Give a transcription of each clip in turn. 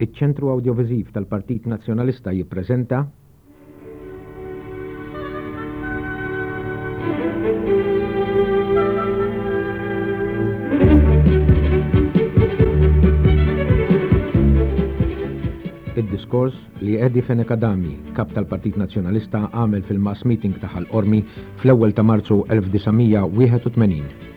Iċ-Ċentru Awdjoviżiv tal-Partit Nazzjonalista jippreżenta. Id-diskors li Eddie Fenech Adami, Kap tal-Partit Nazzjonalista għamel fil-mass meeting ta' Ħal Qormi fl-ewwel ta' Marzu 1981.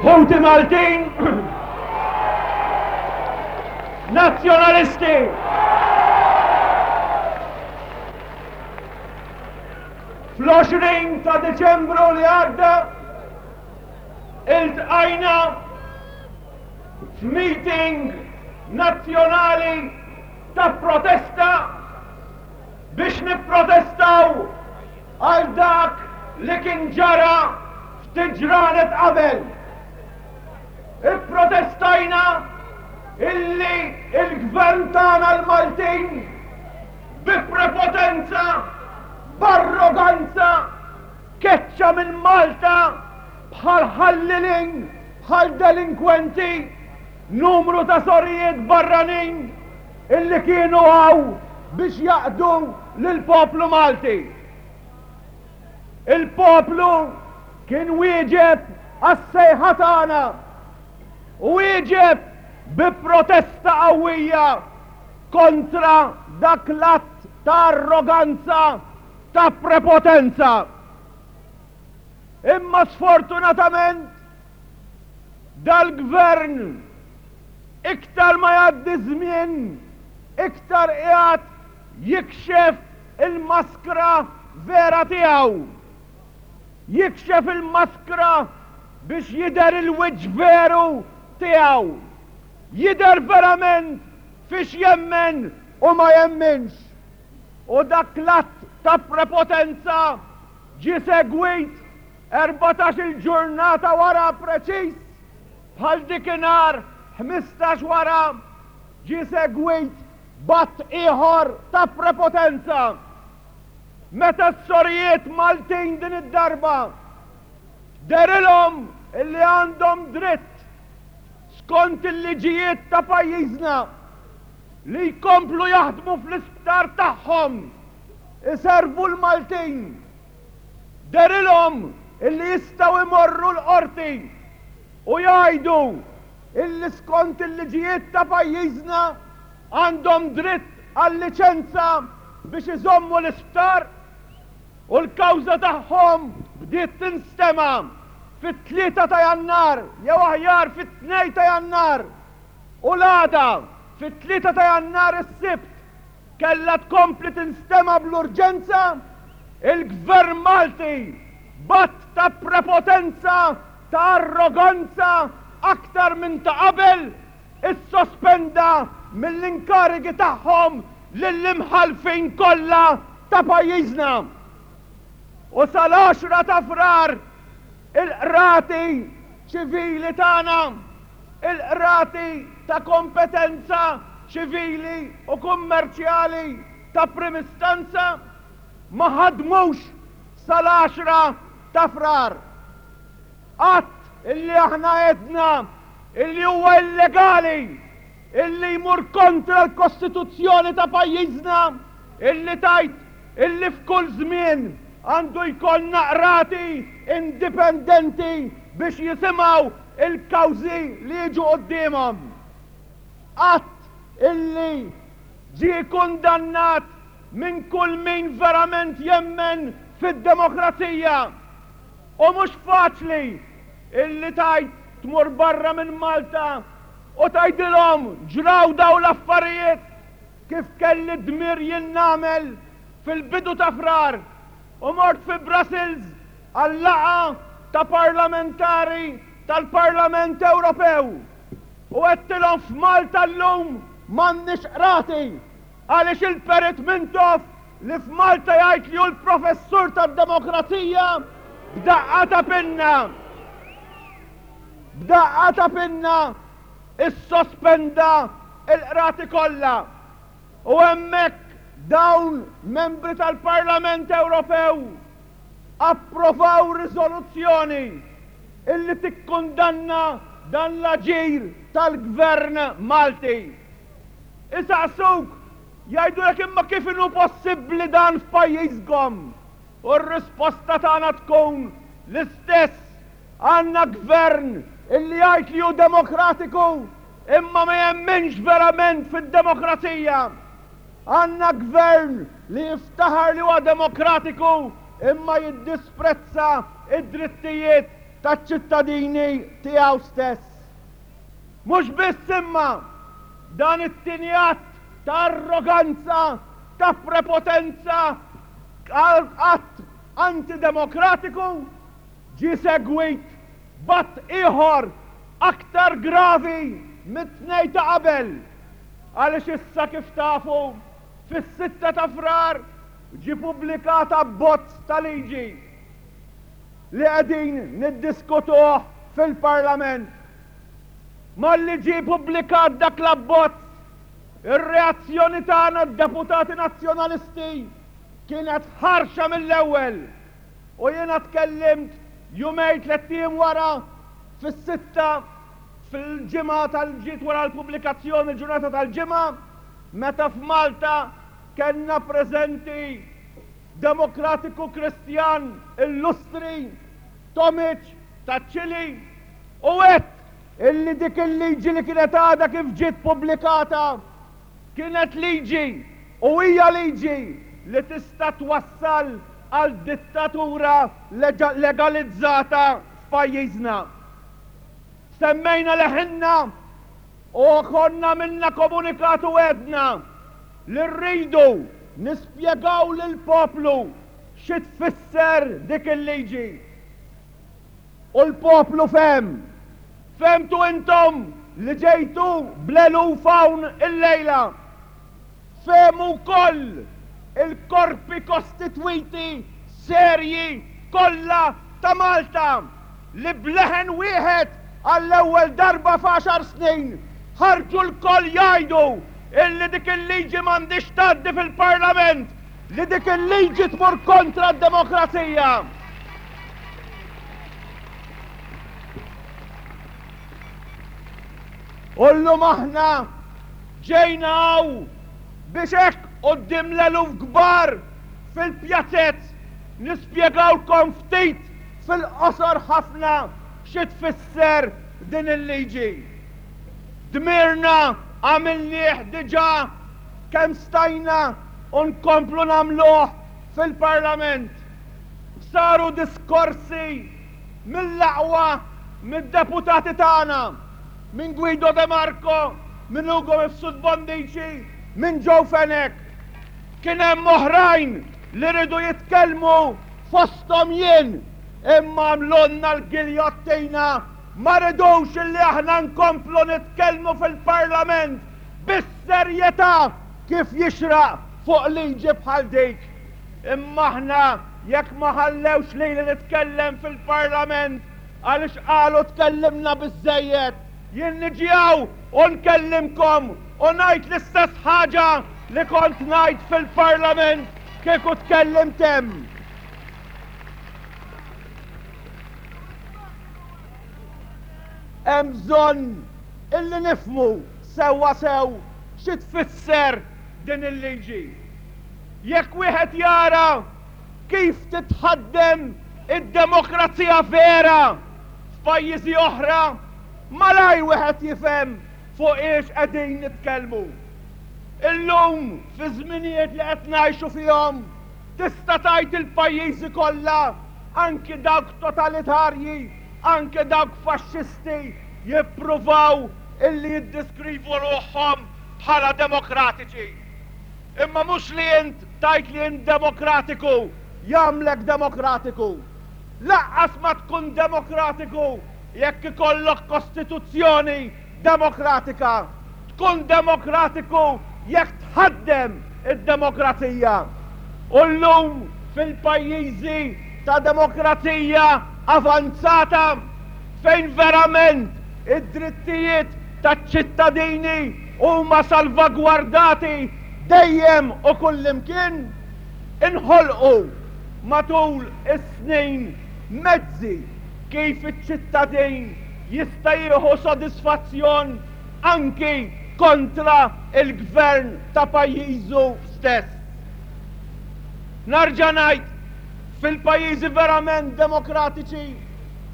Ħuti Maltin, Nazzjonalisti! Fl-20 ta' Deċembru li għadda iltqajna f'meeting nazzjonali ta' protesta biex nipprotestaw għal dak li kien ġara ftit ġranet qabel. Ipprotestajna illi l-gvern tagħna l-Maltin bi prepotenza, b'arroganza keċċa minn Malta bħal ħallilin, bħal delinkwenti, numru ta' sorijiet barranin illi kienu hawn biex jaqdu lill-poplu Malti. Il-poplu kien wieġeb għas-sejħa tagħna u wieġeb bi protesta qawwija kontra dak l-att ta' arroganza, ta' prepotenza. Imma sfortunatament dal-gvern iktar ma jgħaddi żmien iktar qiegħed jikxef il-maskra vera tiegħu. Jikxef il-maskra biex jidher il-wiċċ veru tiegħu. Jidher verament fiex jemmen u ma jemminx. U dak l-att ta' prepotenza ġie segwit 14-il ġurnata wara preċiż bħal dikinhar 15 wara ġie segwit b'att ieħor ta' prepotenza. Meta s-sorijiet Maltin din id-darba dehrilhom illi għandhom dritt skont il-liġijiet ta' pajjiżna li jkomplu jaħdmu fl-isptar tagħhom iservu l-Maltin, dehrilhom illi jistgħu jmorru l-Qorti u jgħidu illi skont il-liġijiet ta' pajjiżna għandhom dritt għal liċenza. biex iżommu l-isptar u l-kawża tagħhom bdiet tinstema' fit-tlieta ta' Jannar jew aħjar fit-tnejn ta' Jannar u l-għada fit-tlieta ta' Jannar is-Sibt kellha tkompli tinstema' bl-urġenza, il-Gvern Malti b'att ta' prepotenza, ta' arroganza aktar minn ta' qabel, issospenda mill-inkarigi tagħhom lill-imħallfin kollha ta' pajjiżna. U sal-għaxra ta' Frar il-qrati ċivili tagħna, il-qrati ta' kompetenza ċivili u kummerċjali ta' prim'istanza ma ħadmux sal-għaxra ta' Frar. Att illi aħna għedna illi huwa illegali, illi jmur kontra l-Kostituzzjoni ta' pajjiżna, illi tgħid illi f'kull żmien għandu jkollna qrati indipendenti biex jisimgħu l-kawżi li jiġu quddiemhom. Att illi ġie kundannat minn kull min verament jemmen fid-demokrazija. U mhux faċli illi tgħid tmur barra minn Malta u tgħidilhom ġraw dawn l-affarijiet kif kelli d-dmir jien nagħmel fil-bidu ta' Frar u mort fi Brussels għal laqgħa ta' parlamentari tal-Parlament Ewropew u għedtilhom f'Malta llum m'għandniex qrati għaliex il-Perit Mintoff li f'Malta jgħid li hu l-professur tad-demokrazija b'daqqa ta' pinna b'daqqa ta' pinna issospenda l-qrati kollha u hemmhekk dawn membri tal-Parlament Ewropew approvaw riżoluzzjoni illi tikkundanna dan l-aġir tal-Gvern Malti. Isaqsuk, jgħidulek imma kif inhu possibbli dan f'pajjiżkom? U r-risposta tagħna tkun l-istess, għandna gvern illi jgħid li hu demokratiku imma ma jemminx verament fid-demokrazija. Għandna gvern li jiftaħar li huwa demokratiku imma jiddisprezza id-drittijiet taċ-ċittadini tiegħu stess. Mhux biss imma dan it-tieni att ta' arroganza, ta' prepotenza, att antidemokratiku ġie segwit b'att ieħor aktar gravi mit-tnejn ta' qabel għaliex issa kif tafu fis-sitta ta' Frar ġie pubblikat abbozz ta' liġi li qegħdin niddiskutuh fil-Parlament. Malli ġie pubblikat dak l-abbozz, ir-reazzjoni tagħna d-deputati Nazzjonalisti kienet ħarxa mill-ewwel u jiena tkellimt jumejn tlett ijiem wara fis-sitta fil-ġimgħa tal-ġiet wara l-pubblikazzjoni l-ġurnata tal-Ġimgħa meta f'Malta kellna preżenti Demokratiku Kristjan illustri Tomic taċ-Ċili u għedt illi dik il-liġi li kienet għadha kif ġiet pubblikata kienet liġi u hija liġi li tista' twassal għal dittatura legalizzata f'pajjiżna. Semmejna leħinna u konna għamilna komunikat u għedna li rridu nispjegaw lill-poplu xi tfisser dik il-liġi. U l-poplu fehem. Fehmtu intom li ġejtu bl-eluf hawn illejla. Fehmu wkoll il-korpi kostitwiti serji kollha ta' Malta li b'leħen wieħed għall-ewwel darba f'għaxar snin ħarġu lkoll jgħidu illi dik il-liġi m'għandhiex tgħaddi fil-Parlament, li dik il-liġi tmur kontra d-demokrazija. U llum aħna ġejna hawn biex hekk quddiem l-eluf kbar fil-pjazez nispjegawlkom ftit fil-qosor ħafna xi tfisser din il-liġi. Dmirna għamilnieh diġà kemm stajna. u nkomplu nagħmluh fil-Parlament. Saru diskorsi mill-aqwa mid-deputati tagħna, minn Guido De Marco, minn Ugo Mifsud Bonnici, minn Joe Fenech. Kien hemm oħrajn li riedu jitkellmu fosthom jien, imma għamlulna l-giljottina, ma ridux illi aħna nkomplu nitkellmu fil-Parlament bis-serjetà kif jixraq fuq liġi bħal dik. Imma aħna jekk ma ħallewx lili nitkellem fil-Parlament għaliex qalu tkellimna biżżejjed, jien niġi hawn u nkellimkom u ngħid l-istess ħaġa li kont ngħid fil-Parlament kieku tkellimt hemm. Hemm bżonn illi nifhmu sewwa sew xi tfisser din il-liġi. Jekk wieħed jara kif titħaddem id-demokrazija vera f'pajjiżi oħra, malajr wieħed jifhem fuq iex qegħdin nitkellmu. Illum, fiż-żminijiet li qed ngħixu fihom, tista' tgħid il-pajjiżi kollha, anki dawk totalitarji, anke dawk faxxisti, jippruvaw illi jiddiskrivu ruħhom bħala demokratiċi. Imma mhux li int tgħid li int demokratiku jagħmlek demokratiku. Lanqas ma tkun demokratiku jekk ikollok kostituzzjoni demokratika. Tkun demokratiku jekk tħaddem id-demokrazija. U llum fil-pajjiżi ta' demokrazija avanzata fejn verament id-drittijiet taċ-ċittadini huma salvagwardati dejjem u kullimkien, inħolqu matul is-snin mezzi kif iċ-ċittadin jista' jieħu sodisfazzjon anki kontra l-gvern ta' pajjiżu stess. Narġa' ngħid, fil-pajjiżi verament demokratiċi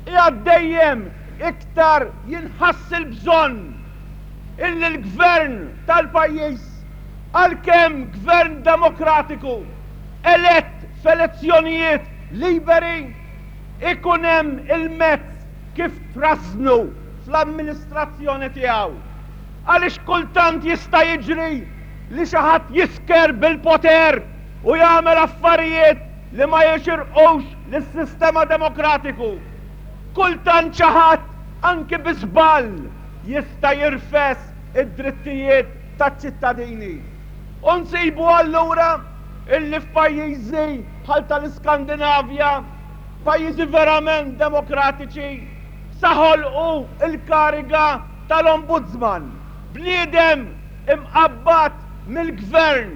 qiegħed dejjem iktar jinħass il-bżonn illi l-gvern tal-pajjiż, għalkemm gvern demokratiku, elett f'elezzjonijiet liberi, ikun hemm il-mezz kif trażżnu fl-amministrazzjoni tiegħu. Għaliex kultant jista' jiġri li xi ħadd jisker bil-poter u jagħmel affarijiet li ma jixirqux lis-sistema demokratiku. Kultant xi ħadd, anki bi żball, jista' jirfes id-drittijiet taċ-ċittadini. U nsibu allura illi f'pajjiżi bħal tal-Iskandinavja, pajjiżi verament demokratiċi, sa ħolqu l-kariga tal-Ombudsman, bniedem imqabbad mill-gvern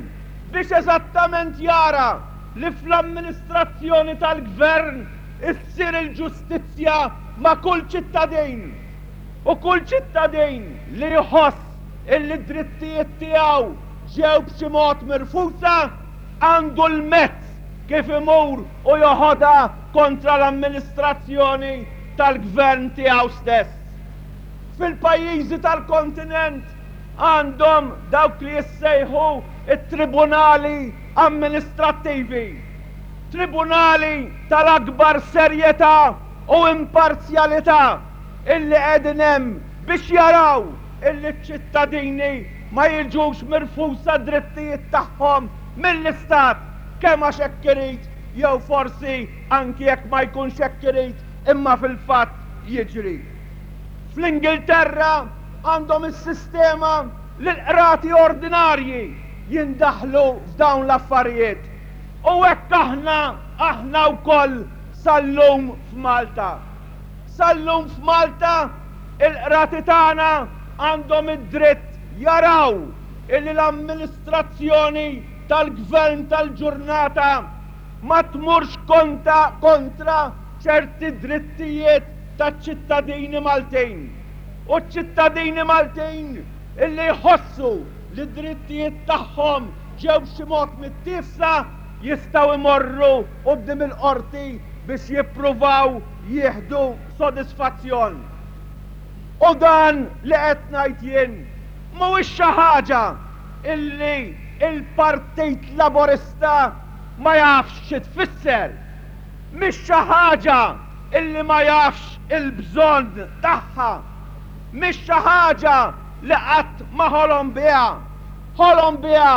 biex eżattament jara li fl-amministrazzjoni tal-gvern issir il-ġustizzja ma' kull ċittadin u kull ċittadin li jħoss illi d-drittijiet tiegħu ġew b'xi mod mirfusa għandu l-mezz kif imur u joħodha kontra l-amministrazzjoni tal-gvern tiegħu stess. Fil-pajjiżi tal-kontinent għandhom dawk li jissejħu t-tribunali amministrattivi. Tribunali tal-akbar serjetà u imparzjalità illi qegħdin hemm biex jaraw illi ċ-ċittadini ma jiġux mirfusa d-drittijiet tagħhom mill-Istat kemm għax hekk irid jew forsi anki jekk ma jkunx hekk irid imma fil-fatt jiġri. Fl-Ingilterra għandhom is-sistema li l-qrati ordinarji jindaħlu f'dawn l-affarijiet. U hekk aħna, aħna wkoll sal-lum f'Malta. Sal-lum f'Malta il-qrati tagħna għandhom id-dritt jaraw illi l-amministrazzjoni tal-gvern tal-ġurnata ma tmurx konta kontra ċerti drittijiet taċ-ċittadini Maltin. U ċ-ċittadini Maltin illi jħossu li d-drittijiet tagħhom ġew b'xi mod mittiefsa jistgħu jmorru quddiem il-qorti biex jippruvaw jieħdu sodisfazzjon. U dan li qed ngħid jien mhuwiex xi ħaġa illi. Il-Partit Laburista ma jafx xi tfisser. Mhix xi ħaġa illi ma jafx il-bżonn tagħha. Mhix xi ħaġa li qatt ma ħolom biha. Ħolom biha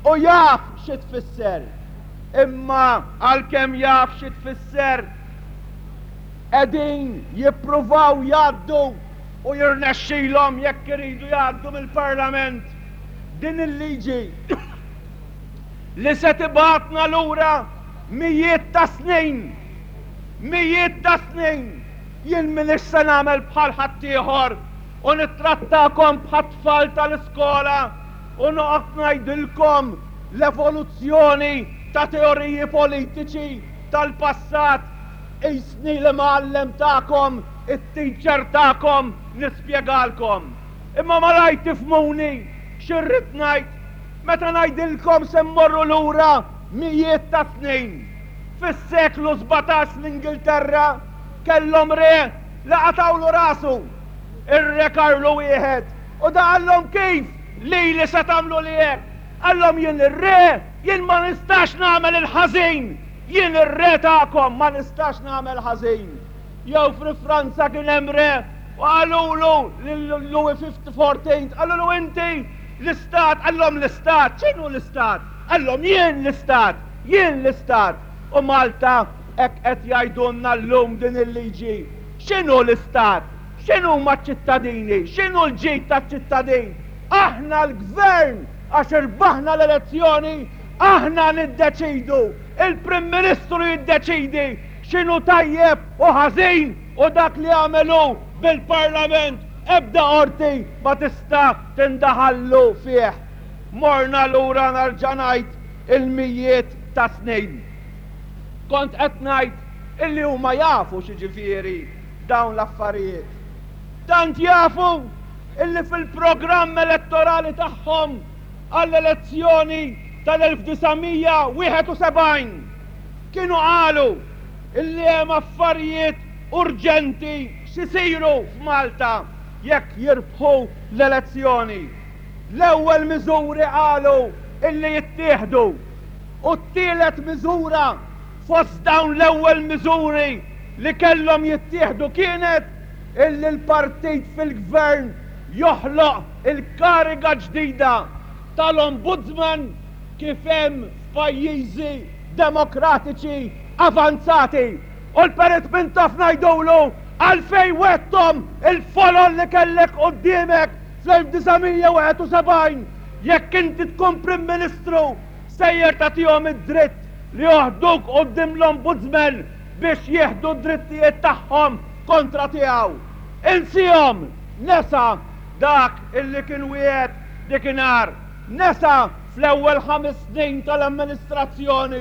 u jaf xi tfisser. Imma għalkemm jaf xi tfisser, qegħdin jippruvaw jgħaddu u jirnexxilhom jekk iridu jgħaddu mill-Parlament din il-liġi li se tibgħatna lura mijiet ta' snin. Mijiet ta' snin! Jien m'iniex se nagħmel bħal ħaddieħor u nittrattakom bħat-tfal tal-iskola u noqgħod ngħidilkom l-evoluzzjoni ta' teoriji politiċi tal-passat qisni l-imgħallem tagħkom, it-teacher tagħkom nispjegalkom. Imma malajr tifhmuni xi rrid ngħid meta ngħidilkom se mmorru lura mijiet ta' snin. Fis-seklu 17 l-Ingilterra kellhom re li qatgħulu rasu, ir-Re Karlu Wieħed, u da qallhom kif lili se tagħmluli hekk? Qallhom jien ir-re, jien ma nistax nagħmel il-ħażin, jien ir-re tagħkom ma nistax nagħmel ħażin. Jew fi Franza kien hemm re u qalulu lil Louis XIV, qalulu inti l-istat, qallhom l-istat, x'inhu l-istat? Qallhom jien l-istat, jien l-istat. U Malta hekk qed jgħidulna llum din il-liġi. X'inhu l-istat? X'inhuma ċ-ċittadini? X'inhu l-ġid taċ-ċittadin? Aħna l-gvern għax irbaħna l-elezzjoni, aħna niddeċidu, il-Prim Ministru jiddeċidi x'inhu tajjeb u ħażin u dak li għamel hu bil-Parlament ebda qorti ma tista' tindaħallu fih. Morna lura nerġa' ngħid il-mijiet ta' snin. Kont qed ngħid illi huma jafu x'jiġifieri dawn l-affarijiet. Tant jafu illi fil-programm elettorali tagħhom għall-elezzjoni tal-1971 kienu qalu illi hemm affarijiet urġenti x'isiru f'Malta jekk jirbħu l-elezzjoni. L-ewwel miżuri qalu illi jittieħdu u t-tielet miżura fost dawn l-ewwel miżuri li kellhom jittieħdu kienet illi l-partit fil-gvern joħloq il-kariga ġdida tal-Ombudsman kif hemm f'pajjiżi demokratiċi avanzati. U l-Perit Mintoff ngħidulu għalfejn wegħdthom il-folol li kellek quddiemek fl-1971 jekk inti tkun Prim Ministru sejjer tagħtihom id-dritt li joħduk quddiem l-Ombudsman biex jieħdu d-drittijiet tagħhom kontra tiegħu. Insihom! Nesa dak illi kien wiegħed dikinhar. Nesa fl-ewwel ħames snin tal-amministrazzjoni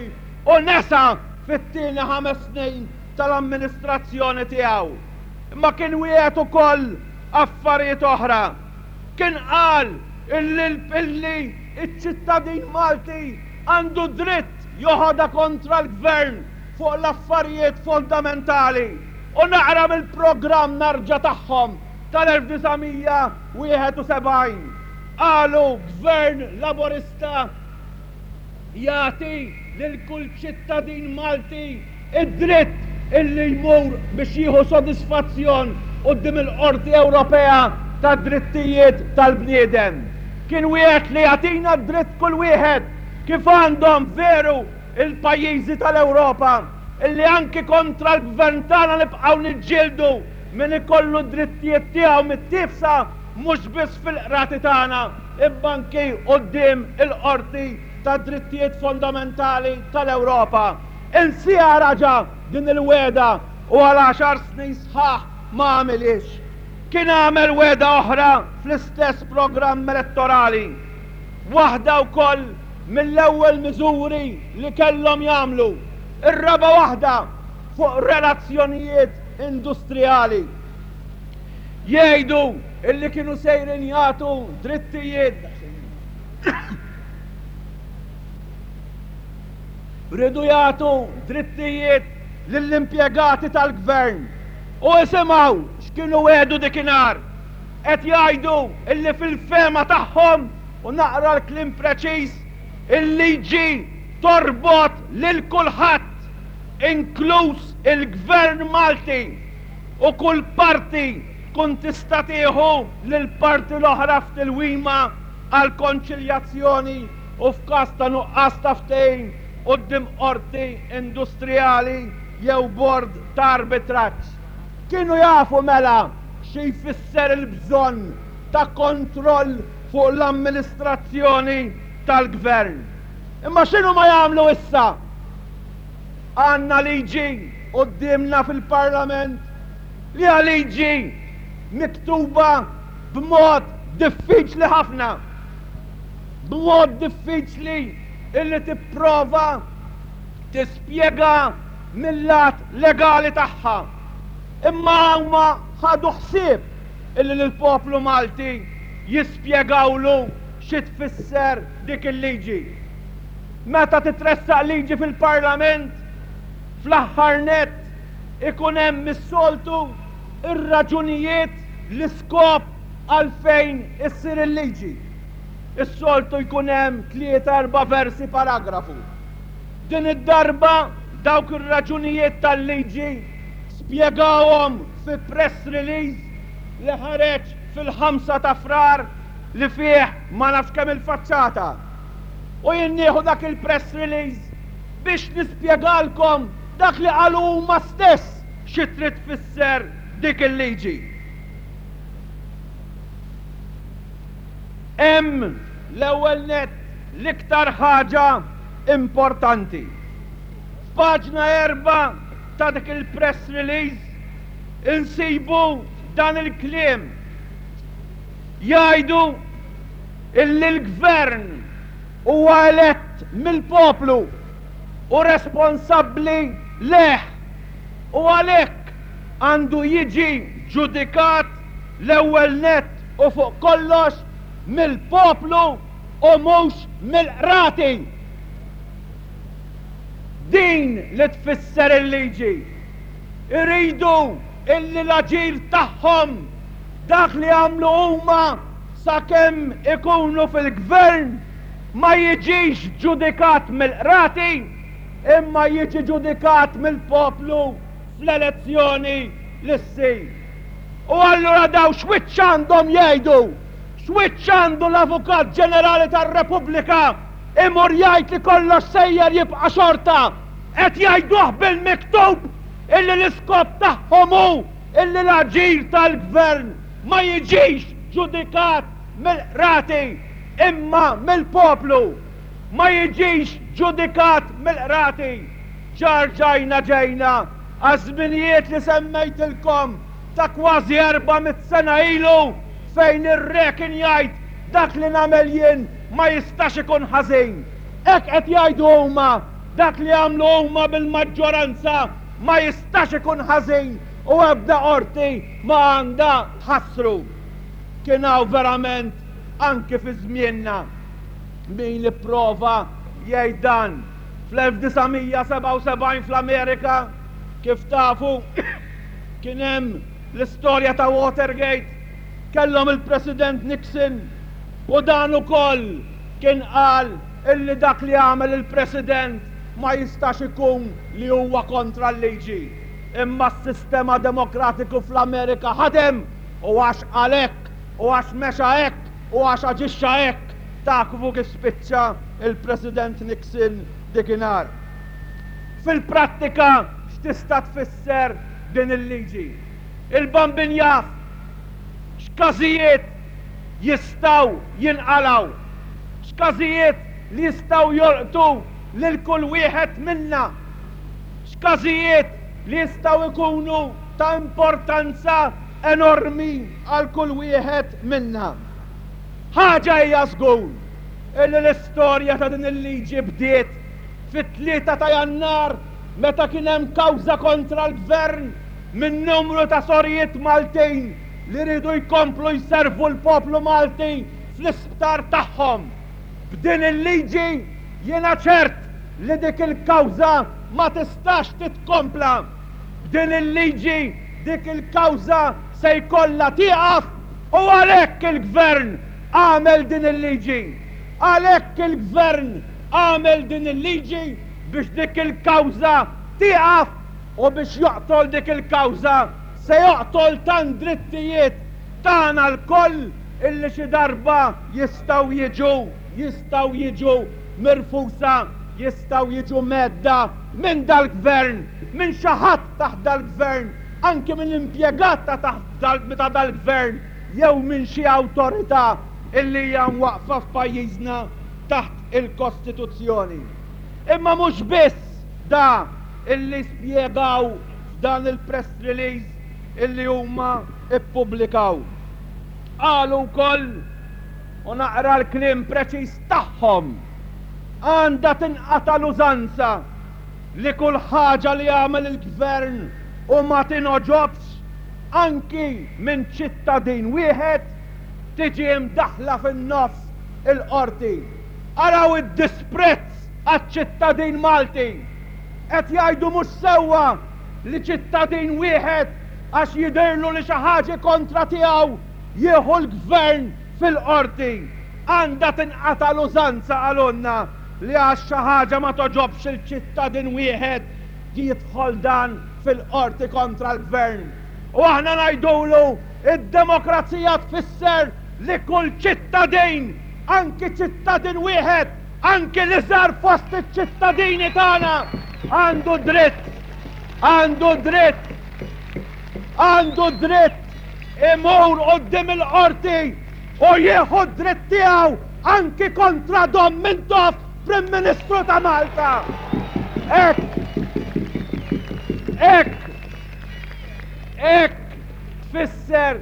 u nesa fit-tieni ħames snin tal-amministrazzjoni tiegħu. Imma kien wiegħed ukoll affarijiet oħra. Kien qal illi illi ċ-ċittadin Malti għandu dritt joħodha kontra l-gvern fuq l-affarijiet fondamentali u naqra mill-programm narġa' tagħhom tal-1971. Qalu Gvern Laburista jagħti lil kull ċittadin Malti d-dritt illi jmur biex jieħu sodisfazzjon quddiem il-Qorti Ewropea tad-Drittijiet tal-Bniedem. Kien wiegħed li jagħtina d-dritt kull wieħed kif għandhom veru il-pajjiżi tal-Ewropa illi anki kontra l-gvern tagħna nibqgħu niġġieldu min ikollu d-drittijiet tiegħu mittiefsa mhux biss fil-qrati tagħna imma anki quddiem il-Qorti tad-Drittijiet Fondamentali tal-Ewropa. Insiha raġa' din il-wegħda u għal għaxar snin sħaħ ma għamilhiex. Kien għamel wegħda oħra fl-istess programm elettorali. Waħda wkoll mill-ewwel miżuri li kellhom jagħmlu, ir-raba' waħda fuq relazzjonijiet industrijali. Jgħidu illi kienu sejrin jagħtu drittijiet riedu jagħtu drittijiet lill-impjegati tal-gvern. U isimgħu x'kienu wegħdu dikinhar. Qed jgħidu illi fil-fehma tagħhom U naqra l-kliem preċiż, Il-liġi torbot lil kulħadd, inkluż il-Gvern Malti, u kull parti tkun tista' tieħu lill-parti l-oħra f'tilwima għall-konċiljazzjoni u f'każ ta' nuqqas ta' ftehim quddiem qorti industrijali jew bord ta' arbitraġġ. Kienu jafu mela xi jfisser il-bżonn ta' kontroll fuq l-amministrazzjoni tal-Gvern. Imma x'inhuma jagħmlu issa? Għandna liġi quddiemna fil-Parlament li hija liġi miktuba b'mod diffiċli ħafna. B'mod diffiċli illi tipprova tispjega mil-lat legali tagħha. Imma huma ħadu ħsieb illi lill-poplu Malti jispjegawlu xi tfisser dik il-liġi. Meta titressaq liġi fil-Parlament, fl-aħħar nett ikun hemm is-soltu r-raġunijiet, l-iskop għalfejn issir il-liġi. Is-soltu jkun hemm tlieta erba' versi paragrafu. Din id-darba dawk ir-raġunijiet tal-liġi spjegawhom fi press release li ħareġ fil-ħamsa ta' Frar li fih ma nafx kemm il-faċċata. U jien nieħu dak il-press release biex nispjegalkom dak li qalu huma stess xi trid tfisser dik il-liġi. Hemm l-ewwel nett l-iktar ħaġa importanti. F'paġna erbgħa ta' dik il-press release insibu dan il-kliem. Jgħidu illi l-Gvern huwa elett mill-poplu u responsabbli lejh u għalhekk għandu jiġi ġudikat l-ewwel nett u fuq kollox mill-poplu u mhux mill-qrati. Din li tfisser il-liġi. Iridu illi l-aġir tagħhom, dak li għamlu huma sakemm ikunu fil-gvern, ma jiġix ġudikat mill-qrati imma jiġi ġudikat mill-poplu fl-elezzjoni li ssir. U allura dawn x'wiċċ għandhom jgħidu? X'wiċċ għandu l-Avukat Ġenerali tar-Repubblika imur jgħid li kollox sejjer jibqa' xorta? Qed jgħiduh bil-miktub illi l-iskop tagħhom hu illi l-aġir tal-Gvern ma jiġix ġudikat mill-qrati imma mill-poplu. Ma jiġix ġudikat mill-qrati. Ġa rġajna ġejna għaż-żminijiet li semmejtilkom ta' kważi 400 sena ilu fejn ir-re kien jgħid dak li nagħmel jien ma jistax ikun ħażin. Hekk qed jgħidu huma, dak li għamlu huma bil-maġġoranza ma jistax ikun ħażin u ebda qorti ma għandha tħassru. Kien hawn verament anki fi żmienna min ipprova jgħid dan. Fl-1977 fl-Amerika, kif tafu, kien hemm l-istorja ta' Watergate, kellhom il-President Nixon u dan ukoll kien qal illi dak li għamel il-President ma jistax ikun li huwa kontra l-liġi. Imma s-sistema demokratiku fl-Amerika ħadem u għax qal hekk u għax mexa hekk u għax aġixxa hekk tafu kif spiċċa il-President Nixon dikinhar. Fil-prattika x'tista' tfisser din il-liġi? Il-Bambin jaf x'każijiet jistgħu jinqalgħu, x'każijiet li jistgħu jolqtu lil kull wieħed minna, x'każijiet li jistgħu jkunu ta' importanza enormi għal kull wieħed minna. Ħaġa hija żgur, illi l-istorja ta' din il-liġi bdiet fit-3 ta' Jannar meta kien hemm kawża kontra l-Gvern minn numru ta' sorijiet Maltin li riedu jkomplu jservu l-poplu Malti fl-isptar tagħhom. B'din il-liġi jiena ċert li dik il-kawża ma tistax titkompla. B'din il-liġi dik il-kawża se jkollha tieqaf u għalhekk il-Gvern għamel din il-liġi. Għalhekk il-Gvern. għamel din il-liġi biex dik il-kawża tieqaf u biex joqtol dik il-kawża se joqtol tant drittijiet tagħna lkoll illi xi darba jistgħu jiġu jistgħu jiġu mirfusa, jistgħu jiġu mhedda minn dal-Gvern, minn xi ħadd taħt dal-Gvern, anki minn impjegat ta' taħt ta' dal-Gvern jew minn xi awtorità illi hija mwaqqfa f'pajjiżna taħt il-Kostituzzjoni. Imma mhux biss da illi spjegaw f'dan il-press release illi huma ppubblikaw. Qalu wkoll, u naqra l-kliem preċiż tagħhom, Għandha tinqata' l-użanza li kull ħaġa li jagħmel il-Gvern u ma tingħoġobx anki minn ċittadin wieħed, tiġi imdaħħla fin-nofs il-Qorti. Araw id-disprezz għaċ-ċittadin Malti! Qed jgħidu mhux sewwa li ċittadin wieħed għax jidhirlu li xi ħaġa kontra tiegħu jieħu l-Gvern fil-Qorti. Għandha tinqata' l-użanza qalulna li għax xi ħaġa ma togħġobx 'il ċittadin wieħed jidħol dan fil-Qorti kontra l-Gvern. U aħna ngħidulu id-demokrazija tfisser li kull ċittadin, anki ċittadin wieħed, anki l-iżgħar fost iċ-ċittadini tagħna għandu dritt, għandu dritt, għandu dritt imur quddiem il-Qorti u jieħu d-dritt tiegħu anki kontra Dom Mintoff, Prim Ministru ta' Malta. Hekk, hekk, hekk tfisser,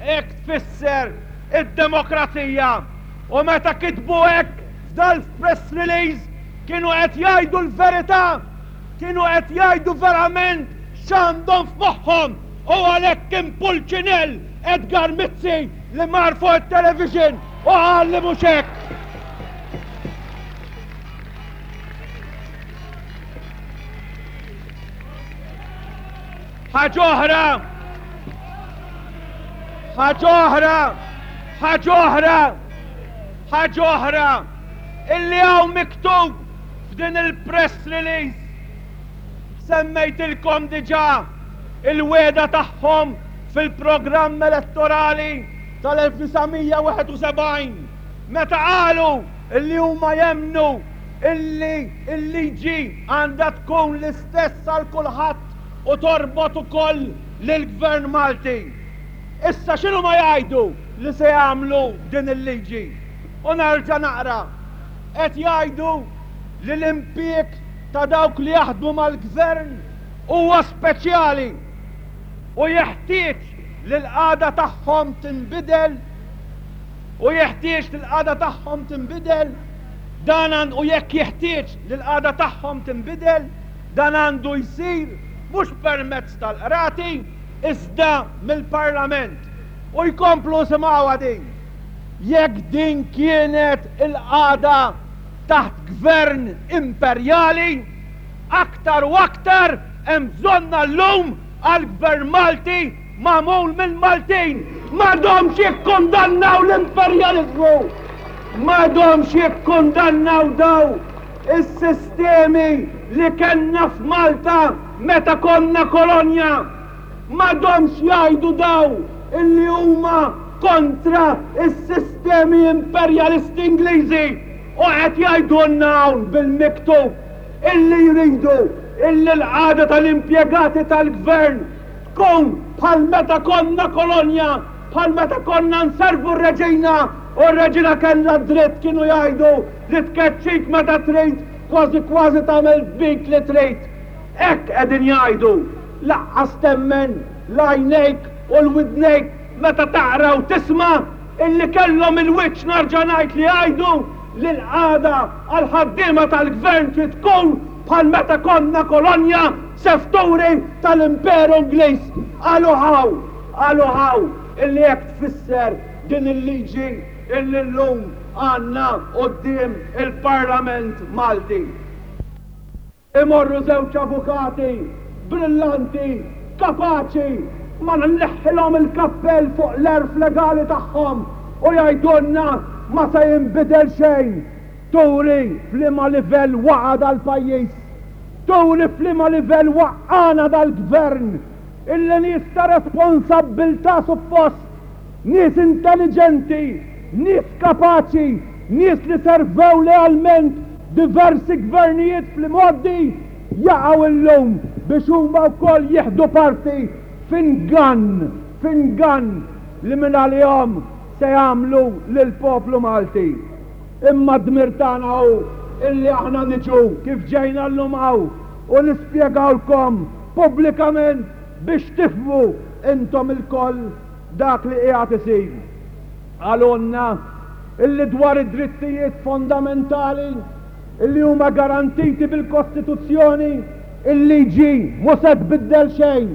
hekk tfisser id-demokrazija. U meta kitbu hekk f'dal-press release kienu qed jgħidu l-verità, kienu qed jgħidu verament x'għandhom f'moħħhom u għalhekk kien Pulċinell Edgar Mizzi li mar fuq it-television u qal li mhux hekk. Ħaġa oħra, ħaġa oħra, ħaġa oħra, ħaġa oħra, illi hawn miktub f'din il-press release. Semmejtilkom diġà il-wegħda tagħhom fil-programm elettorali tal-1971 meta qalu illi huma jemmnu illi l-liġi għandha tkun l-istess għal kulħadd u torbot ukoll lill-Gvern Malti. Issa x'inhuma jgħidu li se jagħmlu din il-liġi? U nerġa' naqra, qed jgħidu li l-impieg ta' dawk li jaħdmu mal-Gvern huwa speċjali u jeħtieġ li l-qagħda tagħhom tinbidel u jeħtieġ li l-qagħda tagħhom tinbidel dan u jekk jeħtieġ li l-qagħda tagħhom tinbidel dan għandu jsir mhux permezz tal-qrati iżda mill-Parlament. U jkomplu simgħuha din. Jekk din kienet il-qagħda taħt gvern imperjali, aktar u aktar hemm bżonnha llum għal gvern Malti magħmul mill-Maltin. M'għadhomx jikkundannaw l-imperjaliżmu! M'għadhomx jikkundannaw daw is-sistemi li kellna f'Malta meta konna kolonja! M'għadhomx jgħidu daw illi huma kontra s-sistemi imperjalisti Ingliżi u qed jgħidulna hawn bil-miktub illi jridu illi l-qagħda tal-impjegati tal-Gvern tkun bħal meta konna kolonja, bħal meta konna nservu r-Reġina u r-Reġina kellha d-dritt kienu jgħidu li tkeċċik meta trid, kważi kważi tagħmel bik li trid. Hekk qegħdin jgħidu. Laqqas temmen l-għajnejk u l-widnejk meta taqra u tisma' illi kellhom il-wiċċ narġa' ngħid li jgħidu li l-qagħda għall-ħaddiema tal-Gvern trid tkun bħal meta konna kolonja sefturi tal-Imperu Ingliż. Qalu hawn, qalu hawn illi hekk tfisser din il-liġi illi llum għandna quddiem il-Parlament Malti. Imorru żewġ avukati brillanti, kapaċi, ma nneħħilhom il-kappell fuq l-għerf legali tagħhom u jgħidulna ma se jinbidel xejn. Turi f'liema livell waqa' dal-pajjiż. Turi f'liema livell waqqagħna dal-Gvern illi nies ta' responsabbiltà suppost, nies intelliġenti, nies kapaċi, nies li servew lealment diversi gvernijiet fl-imgħoddi jaqgħu illum biex huma wkoll jieħdu parti f'ingann, f'ingann li mingħalihom se jagħmlu lill-poplu Malti. Imma d-dmir tagħna hu illi aħna niġu kif ġejna llum hawn u nispjegawlkom pubblikament biex tifhmu intom ilkoll dak li qiegħed isir. Qalulna illi dwar id-drittijiet fondamentali illi huma garantiti bil-Kostituzzjoni, il-liġi mhu se tbiddel xejn.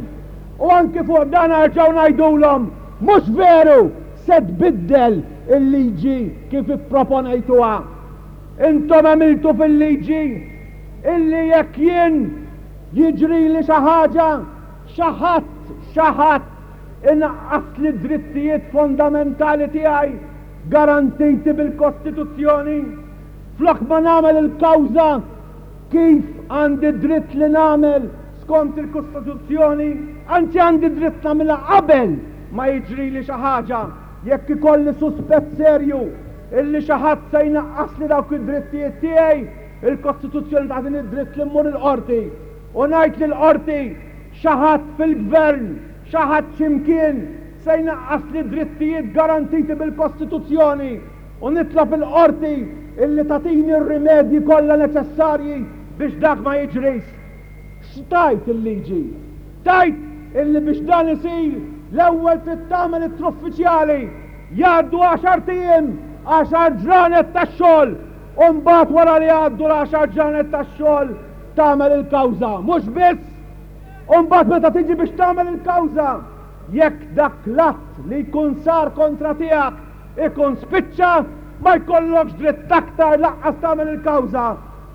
U anki fuq dan erġgħu ngħidulhom, mhux veru! Se tbiddel il-liġi kif ipproponejtuha. Intom għemiltu fil-liġi illi jekk jien jiġrili xi ħaġa, xi ħadd, xi ħadd inaqqasli d-drittijiet fondamentali tiegħi garantiti bil-Kostituzzjoni, flok ma nagħmel il-kawża kif għandi dritt li nagħmel skont il-Kostituzzjoni, anzi għandi dritt nagħmilha qabel ma jiġrili xi ħaġa, jekk ikolli suspett serju illi xi ħadd se jnaqqasli dawk id-drittijiet tiegħi, il-Kostituzzjoni tagħtini d-dritt li mmur il-qorti u ngħid lill-qorti xi ħadd fil-gvern, xi ħadd xi mkien se jnaqqasli drittijiet garantiti bil-Kostituzzjoni u nitlob il-qorti illi tagħtini r-rimedji kollha neċessarji biex dak ma jiġrix. X'tgħid il-liġi? Tgħid illi biex dan isir l-ewwel trid tagħmel ittra uffiċjali, jgħaddu għaxart ijiem, għaxar ġranet ta' xogħol, u mbagħad wara li jgħaddu l-għaxar ġranet ta' xogħol tagħmel il-kawża. Mhux biss, u mbagħad meta tiġi biex tagħmel il-kawża, jekk dak l-att li jkun sar kontra tiegħek ikun spiċċa, ma jkollokx dritt aktar lanqas tagħmel il-kawża.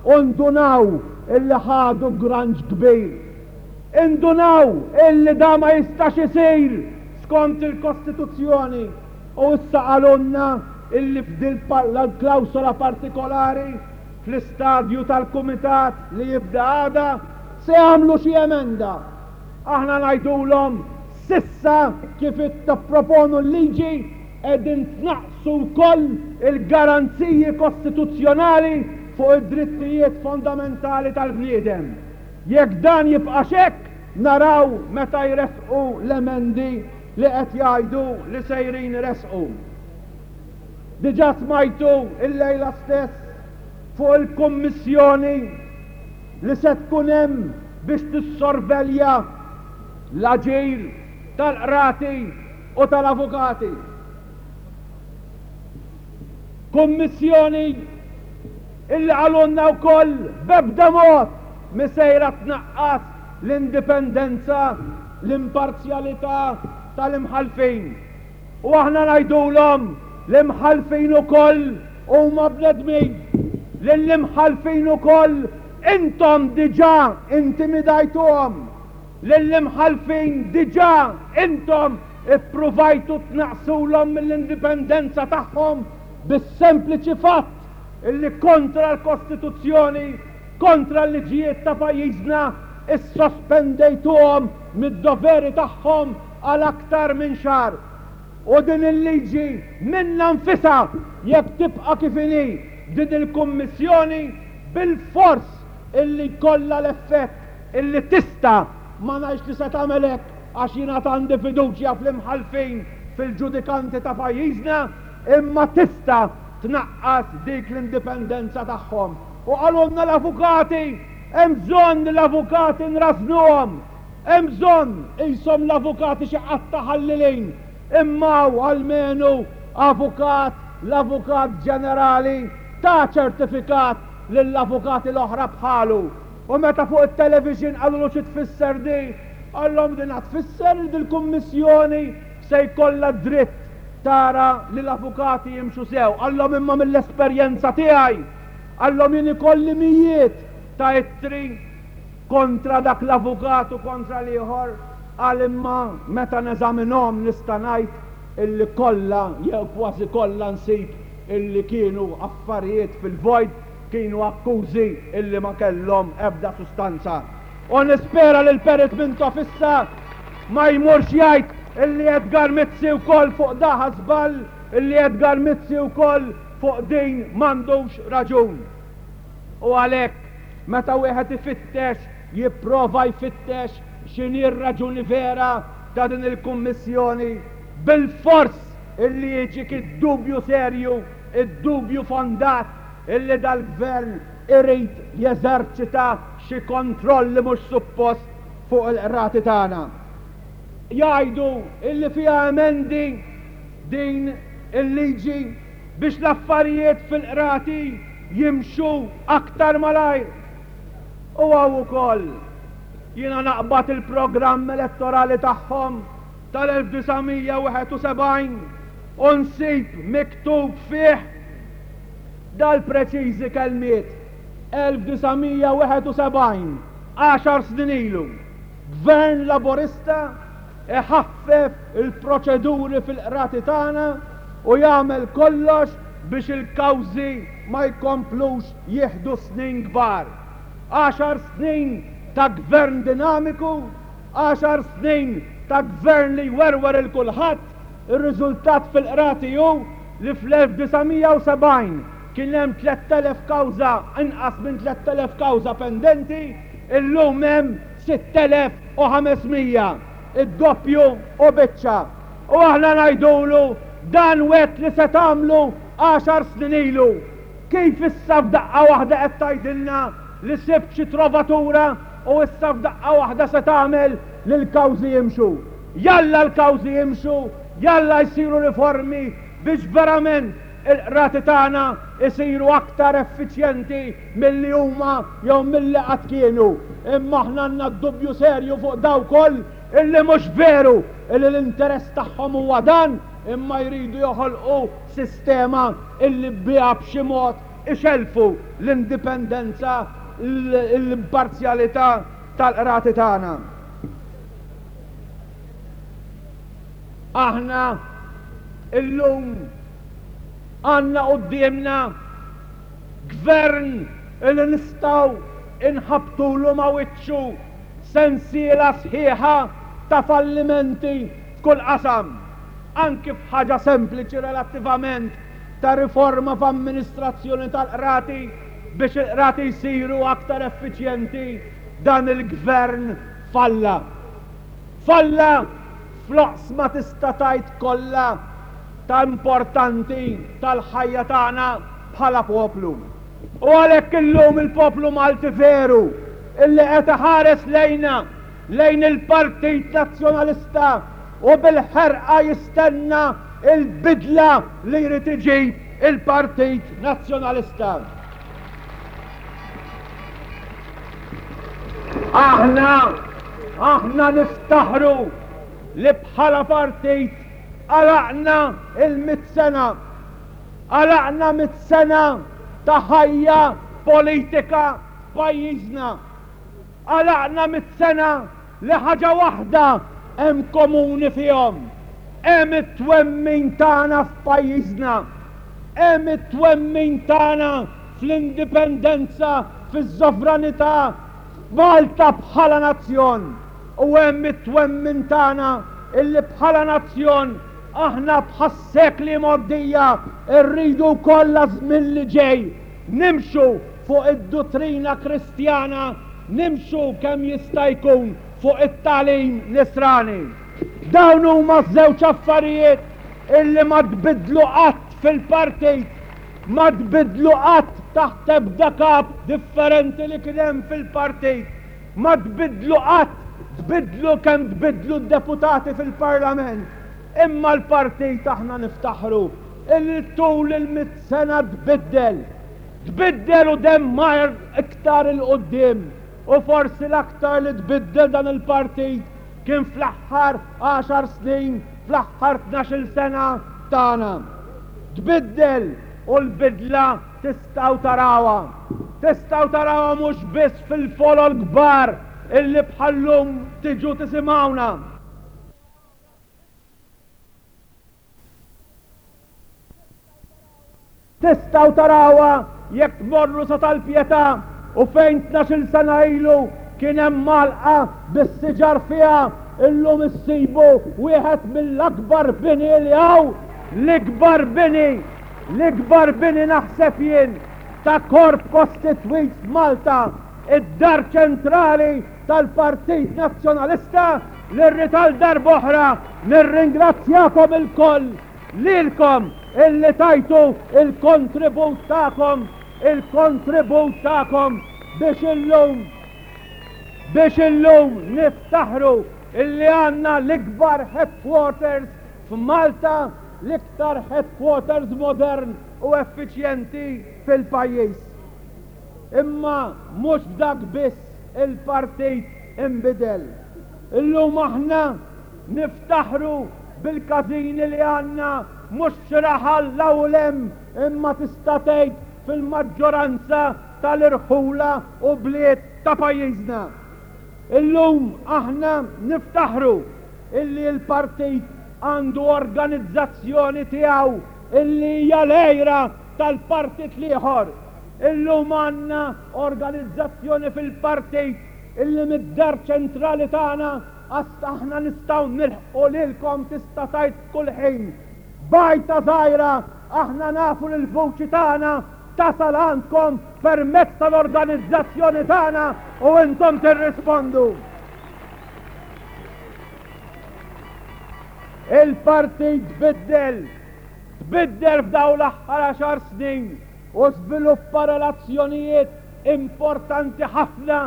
U ndunaw illi ħadu granġ kbir. Indunaw illi da ma jistax isir skont il-Kostituzzjoni u issa qalulna illi f'dil l-klawsola partikolari fl-istadju tal-kumitat li jibda għada se jagħmlu xi emenda. Aħna ngħidulhom s'issa kif tipproponu l-liġi qegħdin tnaqqsu wkoll il-garanziji kostituzzjonali fuq id-drittijiet fondamentali tal-bniedem. Jekk dan jibqax hekk, naraw meta jressqu l-emendi li qed jgħidu li sejrin iressqu. Diġà smajtu illejla stess fuq il-Kummissjoni li se tkun hemm biex tissorvelja l-aġir tal-qrati u tal-avukati. Kummissjoni illi qalulna wkoll b'ebda mod mhi sejra tnaqqas l-indipendenza, l-imparzjalità tal-imħallfin. U aħna ngħidulhom l-imħallfin ukoll huma bnedmin. Lill-imħallfin ukoll intom diġà intimidajtuhom. Lill-imħallfin diġà intom ippruvajtu tnaqqsulhom mill-indipendenza tagħhom bis-sempliċi fatt illi kontra l-Kostituzzjoni, kontra l-liġijiet ta' pajjiżna issospendejtuhom mid-doveri tagħhom għal aktar minn xahar. U din il-liġi minnha nfisha jekk tibqa' kif inhi b'din il-Kummissjoni bilfors illi jkollha l-effett illi tista', ma ngħidx li se tagħmel hekk għax jien għad għandi fiduċja fl-imħallfin, fil-ġudikanti ta' pajjiżna, imma tista' tnaqqas dik l-indipendenza tagħhom. U qalulna l-avukati, hemm bżonn li l-avukati nrażżnuhom. Hemm bżonn, qishom l-avukati xi qatta' ħallilin, imma hawn almenu avukat, l-Avukat Ġenerali, ta ċertifikat lill-avukati l-oħra bħalu. U meta fuq it-television qalulu xi tfisser di, qallhom din tfisser li dil-Kummissjoni se jkollha d-dritt tara li l-avukati jimxu sew. Qallhom imma mill-esperjenza tiegħi, qallhom jien ikolli mijiet ta' ittri kontra dak l-avukat u kontra l-ieħor, qal imma meta neżaminhom nista' ngħid illi kollha jew kważi kollha nsib illi kienu affarijiet fil-vojt. Kienu akkużi illi ma kellhom ebda sustanza. U nispera li l-Perit Mintoff issa ma jmurx jgħid illi Edgar Mizzi wkoll fuq daħa żball, illi Edgar Mizzi wkoll fuq din m'għandux raġun. U għalhekk meta wieħed ifittex, jipprova jfittex x'inhi r-raġuni vera ta' din il-Kummissjoni, bilfors illi jiġik id-dubju serju, id-dubju fondat illi dal-Gvern irid jeżerċita xi kontroll li mhux suppost fuq il-qrati tagħna. Jgħidu illi fiha emendi din il-liġi biex l-affarijiet fil-qrati jimxu aktar malajr. U hawn ukoll jiena naqbad il-programm elettorali tagħhom tal-1971 u nsib miktub fih dal-preċiżi kelmiet, 1971, għaxar snin ilu, Gvern Laburista iħaffef il-proċeduri fil-qrati tagħna u jagħmel kollox biex il-kawżi ma jkomplux jieħdu snin kbar. Għaxar snin ta' gvern dinamiku, għaxar snin ta' gvern li jwerwer 'il kulħadd, ir-riżultat fil-qrati hu li fl-1970 kien hemm 3,000 kawża, inqas minn 3,000 kawża pendenti, illum hemm 6,500, id-doppju u biċċa. U aħna ngħidulu dan wegħdt li se tagħmlu għaxar snin ilu. Kif issa f'daqqa waħda qed tgħidilna li sibt xi trovatura u issa f'daqqa waħda se tagħmel li l-kawżi jimxu? Jalla l-kawżi jimxu, jalla jsiru riformi biex verament il-qrati tagħna jsiru aktar effiċjenti milli huma jew milli qatt kienu. Imma aħna għandna dubju serju fuq dawk ukoll illi mhux veru illi l-interess tagħhom huwa dan imma jridu joħolqu sistema illi biha b'xi mod ixellfu l-indipendenza, l-imparzjalità tal-qrati tagħna. Aħna illum għandna quddiemna gvern li nistgħu inħabbtulu ma' wiċċu sensiela sħiħa ta' fallimenti f'kull qasam, anki f'ħaġa sempliċi relattivament ta' riforma f'amministrazzjoni tal-qrati biex il-qrati jsiru aktar effiċjenti, dan il-gvern falla. Falla fl-oqsma tista' tgħid kollha ta' importanti tal-ħajja tagħna bħala poplu. U għalhekk illum il-poplu Malti veru illi qed iħares lejna, lejn il-Partit Nazzjonalista u bil-ħerqa jistenna l-bidla li jrid iġib il-Partit Nazzjonalista. Aħna, aħna niftaħru li bħala partit għalaqna il-mit sena. Għalaqna mit sena ta' ħajja politika f'pajjiżna. Għalaqna mit sena li ħaġa waħda hemm komuni fihom, hemm it-twemmin tagħna f'pajjiżna, hemm it-twemmin tagħna fl-indipendenza, fiż-sovranità, f'Malta bħala nazzjon u hemm it-twemmin tagħna illi bħala nazzjon aħna bħas-sekli mgħoddija rridu wkoll għaż-żmien li ġej nimxu fuq id-duttrina Kristjana Nimxu kemm jista' jkun fuq it-tagħlim Nisrani. Dawn huma ż-żewġ affarijiet illi ma tbiddlu qatt fil-partit, ma tbiddlu qatt taħt ebda kap differenti li kien hemm fil-partit, ma tbiddlu qatt, tbiddlu kemm tbiddlu d-deputati fil-Parlament, imma l-partit aħna niftaħru illi tul il-mitt sena tbiddel. Tbiddel u demm mar iktar 'il quddiem u forsi l-aktar li tbiddel dan il-partit kien fl-aħħar għaxar snin, fl-aħħar tnax-il sena tagħna. Tbiddel u l-bidla tistgħu tarawha. Tistgħu tarawha mhux biss fil-folol kbar illi bħal-lum tiġu tisimgħuna. Tistgħu tarawha jekk tmorru sa Tal-Pietà u fejn 12-il sena ilu kien hemm għalqa bis-siġar fiha, illum issibu wieħed mill-akbar bini li hawn, l-ikbar bini, l-ikbar bini naħseb jien ta' korp kostitwit f'Malta, id-Dar Ċentrali tal-Partit Nazzjonalista li rrid għal darb'oħra nirringrazzjakom ilkoll lilkom illi tajtu il-kontribut tagħkom, il-kontribut tagħkom biex illum biex illum niftaħru illi għandna l-ikbar headquarters f'Malta, l-iktar headquarters modern u effiċjenti fil-pajjiż. Imma mhux f'dak biss il-partit inbidel. Illum aħna niftaħru bil-każini li għandna mhux f'xi raħal 'l hawn u 'l hemm imma tista' tgħid fil-maġġoranza tal-irħula u bliet ta' pajjiżna. Illum aħna niftaħru illi l-partit għandu organizzazzjoni tiegħu illi hija l-għira tal-partit l-ieħor. Illum għandna organizzazzjoni fil-partit illi mid-dar ċentrali tagħna għas aħna nistgħu nilħqu lilkom tista' tgħid f'kull ħin. B'għajta żgħira aħna nafu li l-vuċi tagħna tasal għandkom permezz tal-organizzazzjoni tagħna u intom tirrispondu. Il-partit tbiddel, tbiddel f'dawn l-aħħar għaxar snin u żviluppa relazzjonijiet importanti ħafna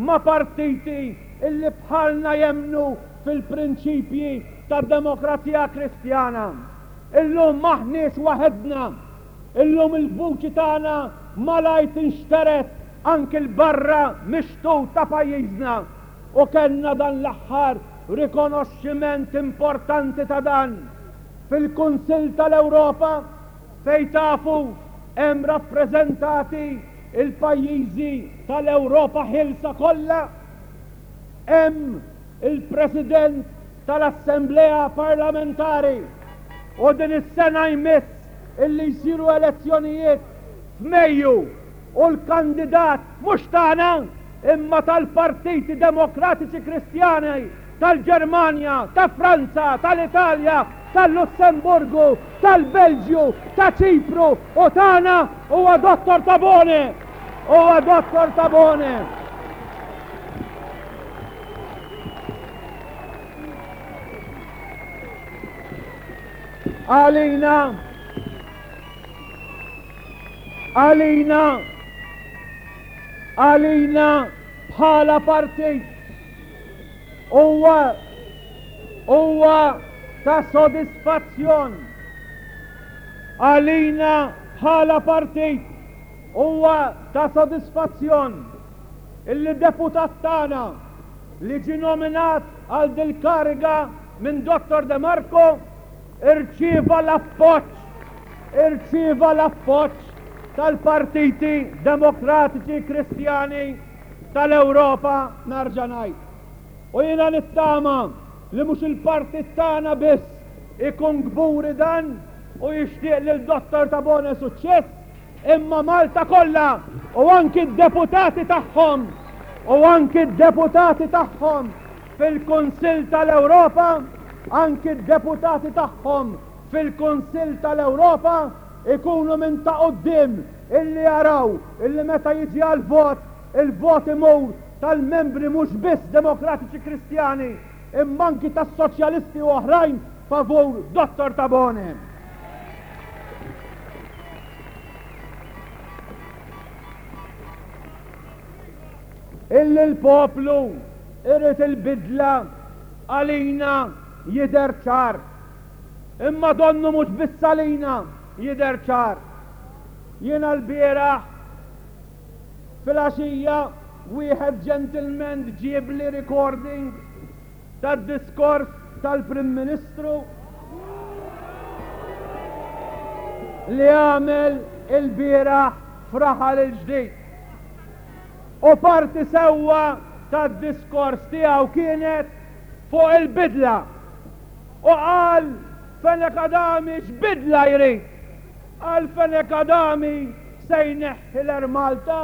ma' partiti illi bħalna jemmnu fil-prinċipji tad-demokrazija Kristjana. Illum m'aħniex waħedna. Illum il-vuċi tagħna malajr tinxtered anki 'l barra mix-xtut ta' pajjiżna u kellna dan l-aħħar rikonoxximent importanti ta' dan fil-Kunsill tal-Ewropa fejn tafu hemm rappreżentati l-pajjiżi tal-Ewropa ħielsa kollha, hemm il-President tal-Assemblea Parlamentari u din is-sena jmiss illi jsiru elezzjonijiet f'Mejju u l-kandidat mhux tagħna imma tal-Partiti Demokratiċi Kristjani tal-Ġermanja, ta' Franza, tal-Italja, tal-Lussemburgu, tal-Belġju, ta' Ċipru u tagħna huwa Dottor Tabone! Huwa Dottor Tabone! Għalina għalina għalina bħala partit Huwa huwa ta' sodisfazzjon għalina bħala partit huwa ta' sodisfazzjon illi deputat tagħna li ġie nominat għal dil-kariga minn Dottor De Marco irċieva l-appoġġ irċieva l-appoġġ tal-partiti demokratiċi kristjani tal-Ewropa narġa' ngħid. U jiena nittama li mhux il-partit tagħna biss ikun kburi dan u jixtieq lil Dottor Tabone suċċess, imma Malta kollha u anki d-deputati tagħhom u anki d-deputati tagħhom fil-Kunsill tal-Ewropa, anki d-deputati tagħhom fil-Kunsill tal-Ewropa ikunu minn ta' quddiem Illi jaraw illi meta jiġi għall-vot, il-vot imur tal-membri mhux biss Demokratiċi Kristjani imma anki tas-Soċjalisti u oħrajn favur Dottor Tabone. Illi l-poplu irid il-bidla għalina jidher ċar. Imma donnu mhux biss għalina jidher ċar. Jiena lbieraħ filgħaxija wieħed gentleman ġiebli recording tad-diskors tal-Prim Ministru li għamel ilbieraħ f'Raħal il-Ġdid. U parti sewwa tad-diskors tiegħu kienet fuq il-bidla. U qal Fenech Adami x'bidla jrid. Qal Fenech Adami. se jneħħi l-Air Malta,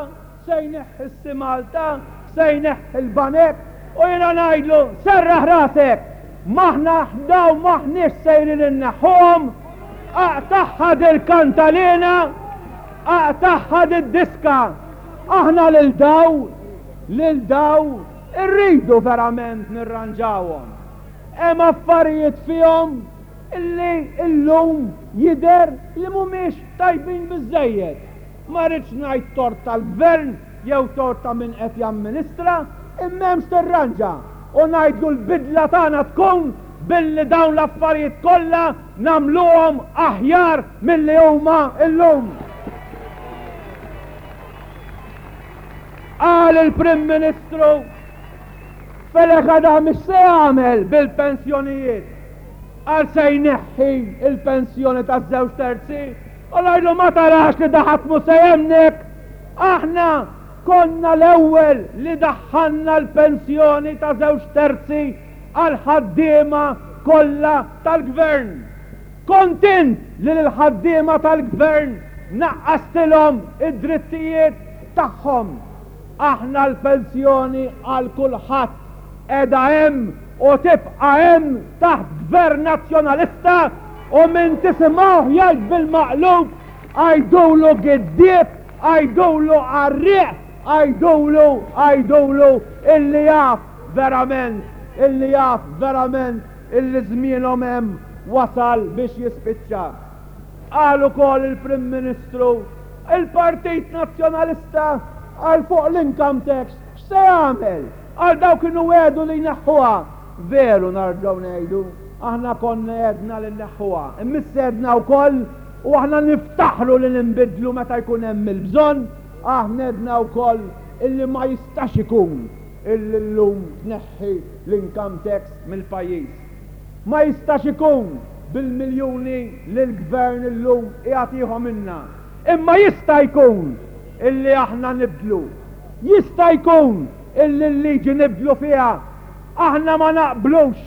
se jneħħi s-Sea Malta, se jneħħi l-banek u jiena ngħidlu serraħ rasek, m'aħna dawn m'aħniex sejrin inneħħuhom, aqtagħha dil-kantalina, aqtagħha did-diska. Aħna lil daw, lil daw irridu verament nirranġawhom. Hemm affarijiet fihom illi illum jidher li mhumiex tajbin biżżejjed. Ma rridx ngħid tort tal-Gvern jew tort ta' min qed jamministra, imma hemm x'tirranġa. U ngħidlu l-bidla tagħna tkun billi dawn l-affarijiet kollha nagħmluhom aħjar milli huma llum. Qal il-Prim Ministru Fenech Adami x'se jagħmel bil-pensjonijiet? Qal se jneħħi l-pensjoni taż-żewġ terzi u ngħidlu ma tarax li da ħadd mhu se jemmnek. Aħna konna l-ewwel li daħħalna l-pensjoni ta' żewġ terzi għall-ħaddiema kollha tal-Gvern. Kont int li lill-ħaddiema tal-Gvern naqqastilhom id-drittijiet tagħhom. Aħna l-pensjoni għal kulħadd qiegħda hemm u tibqa' hemm taħt Gvern Nazzjonalista u min tisimgħuh jgħid bil-maqlub għidulu giddieb, għidulu qarrieq, għidulu, għidulu illi jaf verament, illi jaf verament illi żmienhom hemm wasal biex jispiċċa. Qal ukoll il-Prim Ministru, il-Partit Nazzjonalista għal fuq l-income tax x'se jagħmel? Għal dawk kienu wegħdu li jneħħuha. Veru narġgħu ngħidu, aħna konna għedna li nneħħuha, imma issa għedna wkoll u aħna niftaħru li ninbidlu meta jkun hemm il-bżonn, aħna għedna wkoll illi ma jistax ikun illi llum tneħħi l-income tax mill-pajjiż. Ma jistax ikun bil-miljuni li l-Gvern illum qiegħed jieħu minna. Imma jista' jkun illi aħna nibdlu. Jista' jkun illi l-liġi nibdlu fiha. Aħna ma naqblux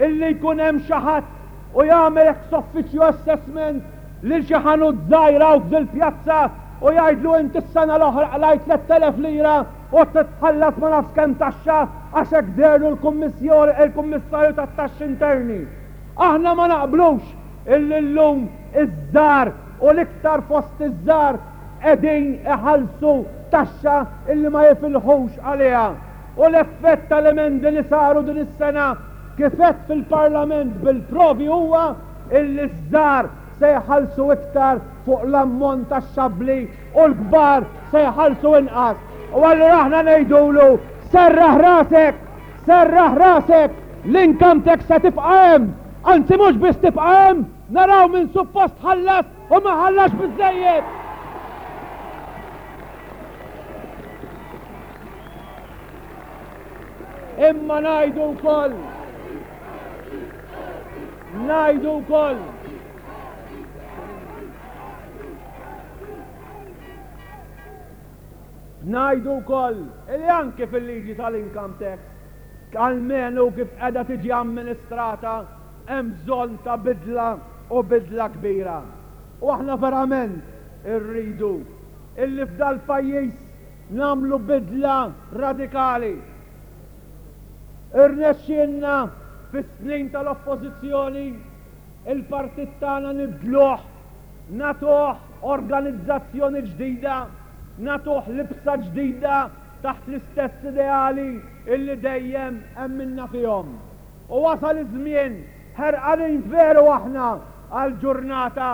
illi jkun hemm xi ħadd u jagħmel ex officio assessment lil xi ħanut żgħir hawn f'dil-pjazza u jgħidlu inti s-sena l-oħra qlajt 3,000 lira u trid tħallas ma nafx kemm taxxa għax hekk deherlu l-Kummissjoni il-Kummissarju tat-Taxxi Interni. Aħna ma naqblux illi llum iż-żgħar u l-iktar fost iż-żgħar qegħdin iħallsu taxxa illi ma jifilħux għaliha. U l-effett tal-emendi li saru din is-sena kif għedt fil-Parlament bil-provi huwa illi ż-żgħar se jħallsu iktar fuq l-ammont taxxabbli u l-kbar se jħallsu inqas. U allura aħna ngħidulu serraħ rasek, serraħ rasek, l-income tax se tibqa' hemm. Anzi mhux biss tibqa' hemm, naraw min suppost ħallas u ma ħallasx biżżejjed. Imma ngħidu wkoll ngħidu wkoll Ngħidu wkoll li anke fil-liġi tal-income tax, almenu kif qiegħda tiġi amministrata, hemm bżonn ta' bidla u bidla kbira. U aħna verament irridu illi f'dal-pajjiż nagħmlu bidla radikali. Irnexxielna fis-snin tal-Oppożizzjoni il-partit tagħna nibdluh, nagħtuh organizzazzjoni ġdida, nagħtuh libsa ġdida taħt l-istess ideali illi dejjem emminna fihom. U wasal iż-żmien, ħerqanin veru aħna għall-ġurnata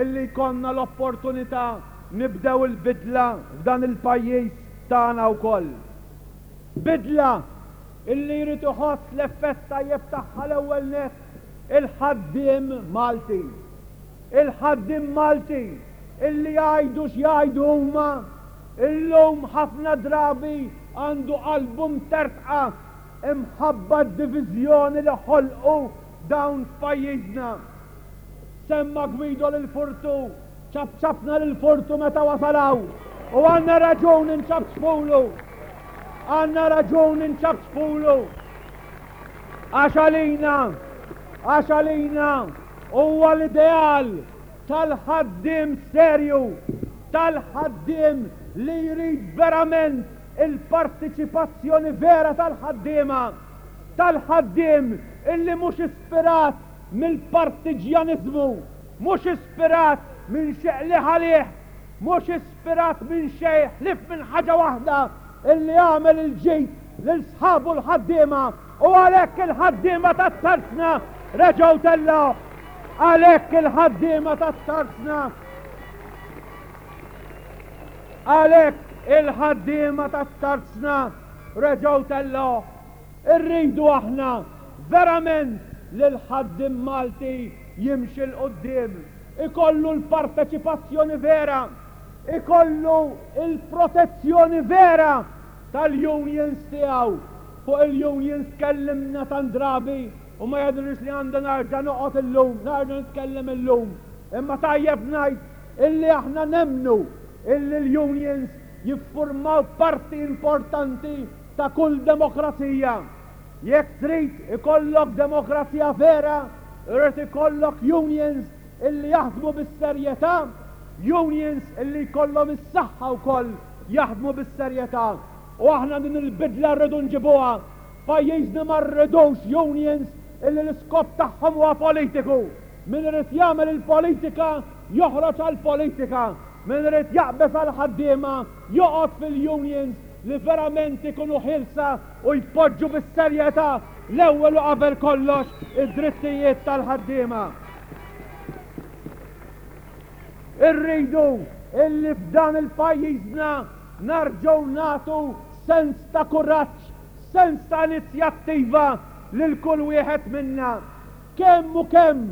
illi jkollna l-opportunità nibdew il-bidla f'dan il-pajjiż tagħna wkoll. Bidla illi jrid iħoss l-effett tajjeb tagħha l-ewwel nett il-ħaddiem Malti. Il-ħaddiem Malti illi jgħidu x'jgħidu huma, illum ħafna drabi għandu qalbu mtertqa imħabba d-diviżjoni li ħolqu dawn f'pajjiżna. Semma Guido lil Furtu, ċapċapna lil Furtu meta wasal hawn u għandna raġun inċapċpulu. Għandna raġun inċapċpulu. Għax għalina, għax għalina huwa l-ideal tal-ħaddiem serju. tal-ħaddiem li jrid verament il-partiċipazzjoni vera tal-ħaddiema, tal-ħaddiem illi mhux ispirat mill-partiġjaniżmu, mhux ispirat minn xi qligħ għalih, mhux ispirat minn xejn ħlief minn ħaġa waħda, illi jagħmel il-ġid lil sħabu l-ħaddiema u għalhekk il-ħaddiema tat-tarzna reġgħu tellgħuh. Għalhekk il-ħaddiema tat-tarzna Għalhekk il-ħaddiema tat-tarzna reġgħu tellgħuh. Irridu aħna verament li l-ħaddiem Malti jimxi 'l quddiem, ikollu l-parteċipazzjoni vera, ikollu l-protezzjoni vera tal-unions tiegħu. Fuq il-unions tkellimna tant drabi u ma jidhirlix li għandi nerġa' noqgħod illum, nerġa' nitkellem illum. Imma tajjeb ngħid illi aħna nemmnu illi l-unions jiffurmaw parti importanti ta' kull demokrazija. Jekk trid ikollok demokrazija vera, irid ikollok unions illi jaħdmu bis-serjetà, unions illi jkollhom is-saħħa wkoll jaħdmu bis-serjetà. U aħna din il-bidla rridu nġibuha. F'pajjiżna ma rridux unions illi l-iskop tagħhom huwa politiku. Min irid jagħmel il-politika joħroġ għall-politika. Min irid jaqbeż għall-ħaddiema joqgħod fil-unions li verament ikunu ħielsa u jpoġġu bis-serjetà l-ewwel u qabel kollox id-drittijiet tal-ħaddiema. Irridu illi f'dan il-pajjiżna narġgħu nagħtu sens ta' kuraġġ, sens ta' inizjattiva lil kull wieħed minna. Kemm u kemm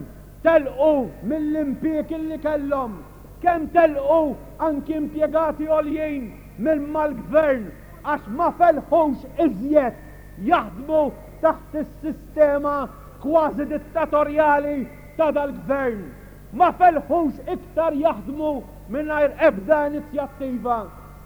telqu mill-impieg illi kellhom, kemm telqu anki impjegati għoljin minn mal-Gvern għax ma felħux iżjed jaħdmu taħt is-sistema kważi dittatorjali ta' dal-Gvern. Ma felħux iktar jaħdmu mingħajr ebda inizjattiva.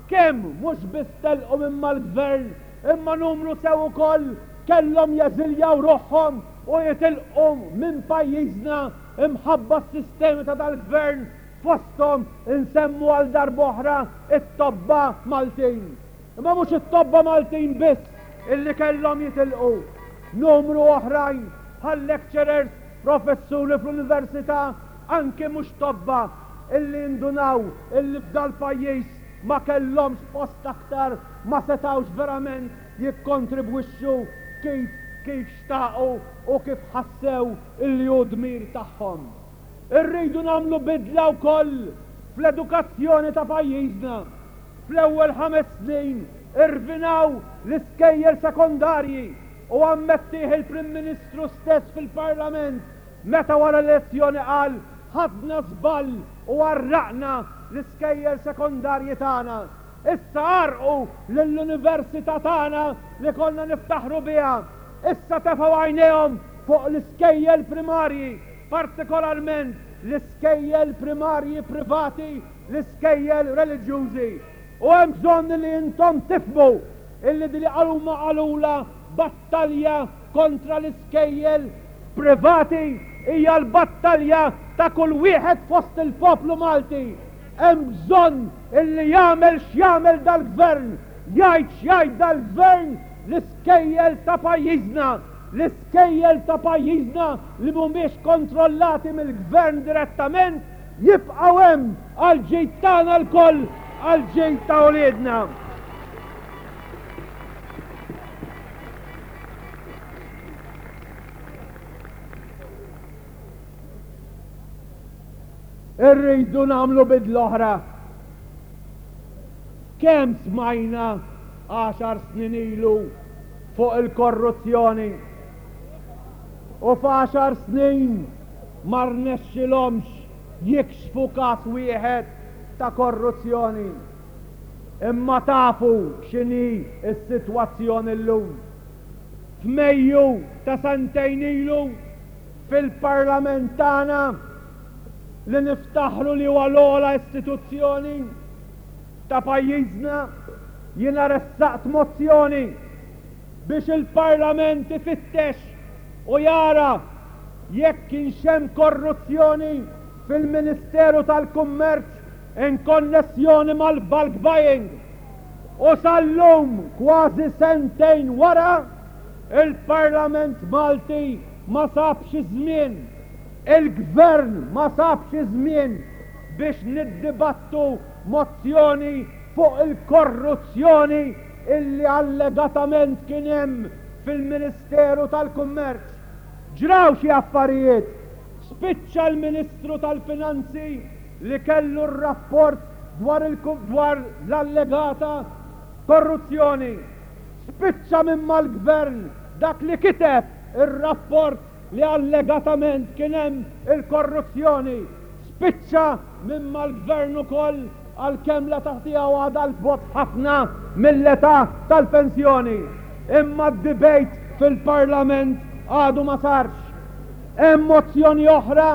Kemm mhux biss telqu minn mal-Gvern imma numru sew ukoll kellhom jeżiljaw ruħhom u jitilqu minn pajjiżna imħabba s-sistemi ta' dal-Gvern fosthom insemmu għal darb'oħra it-tobba Maltin. Imma mhux it-tobba Maltin biss illi kellhom jitilqu. Numru oħrajn bħal lecturers, professuri fl-università, anki mhux tobba illi indunaw illi f'dal-pajjiż ma kellhomx post aktar, ma setgħux verament jikkontribwixxu kif kif xtaqu u kif ħassew illi hu dmir tagħhom. Irridu nagħmlu bidla wkoll fl-edukazzjoni ta' pajjiżna. Fl-ewwel ħames snin irvinaw l-iskejjel sekondarji u ammettih il-Prim Ministru stess fil-Parlament meta wara l-elezzjoni qal ħadna żball u għarraqna l-iskejjel sekondarji tagħna. Issa għarrqu lill-università tagħna li konna niftaħru biha. Issa tefgħu għajnejhom fuq l-iskejjel primarji, partikolarment l-iskejjel primarji privati, l-iskejjel reliġjużi. U hemm bżonn li intom tifhmu illi din li huma qalulha battalja kontra l-iskejjel privati hija l-battalja ta' kull wieħed fost il-poplu Malti. Hemm bżonn illi jagħmel x'jagħmel dal-Gvern, jgħid x'jgħid dal-Gvern, l-iskejjel ta' pajjiżna, l-iskejjel ta' pajjiżna li mhumiex kontrollati mill-Gvern direttament jibqgħu hemm għall-ġid tagħna lkoll, għall-ġid ta' uliedna. Irridu nagħmlu bidla oħra. Kemm smajna għaxar snin ilu fuq il-korruzzjoni u f'għaxar snin ma rnexxilhomx jikxfu każ wieħed ta' korruzzjoni. Imma tafu x'inhi s-sitwazzjoni llum. F'Mejju ta' sentejn ilu fil-Parlament tagħna li niftaħru li huwa l-ogħla istituzzjoni ta' pajjiżna, jiena ressaqt mozzjoni biex il-Parlament ifittex u jara jekk kienx hemm korruzzjoni fil-Ministeru tal-Kummerċ. In konnessjoni mal-bulk buying u sal-lum kważi sentejn wara, il-Parlament Malti ma sabx iż-żmien, il-Gvern ma sabx iż-żmien biex niddibattu mozzjoni fuq il-korruzzjoni illi allegatament kien hemm fil-Ministeru tal-Kummerċ. Ġraw xi affarijiet, spiċċa l-Ministru tal-Finanzi li kellu r-rapport dwar dwar l-allegata korruzzjoni. Spiċċa minn mal-Gvern dak li kiteb ir-rapport li allegatament kien hemm il-korruzzjoni. Spiċċa minn mal-Gvern ukoll għalkemm l-età tiegħu għadha 'l bogħod ħafna mill-età tal-pensjoni. Imma d-debate fil-Parlament għadu ma sarx. Hemm mozzjoni oħra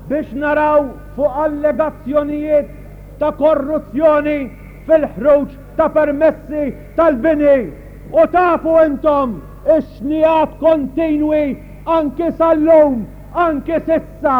biex naraw fuq allegazzjonijiet ta' korruzzjoni fil-ħruġ ta' permessi tal-bini. U tafu intom ix-xnigħat kontinwi anki sal-lum, anki s'issa,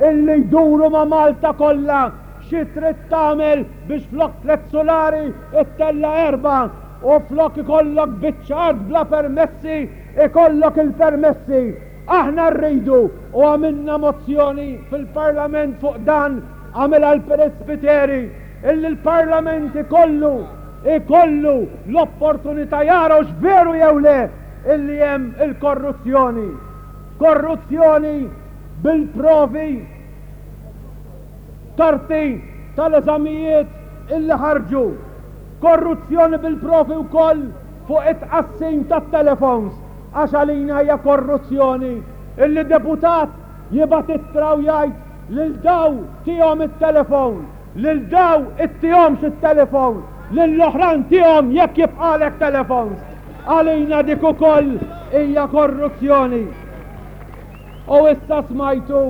illi jduru ma' Malta kollha, xi trid tagħmel biex flok tlett sulari ttella' erbgħa u flok ikollok biċċa art bla permessi ikollok il-permessi. Aħna rridu, u għamilna mozzjoni fil-Parlament fuq dan, għamilha l-Perit Spiteri, illi l-Parlament ikollu, ikollu l-opportunità jara hux veru jew le illi hemm il-korruzzjoni. Korruzzjoni bil-provi, karti tal-eżamijiet illi ħarġu. Korruzzjoni bil-provi wkoll fuq it-tqassim tat-telefons. Għax għalina hija korruzzjoni illi deputat jibgħat ittra u jgħid lil daw tihom it-telefon, lil daw ittihomx it-telefon, lill-oħrajn tihom jekk jibqagħlek telefons. Għalina dik ukoll hija korruzzjoni. U issa smajtu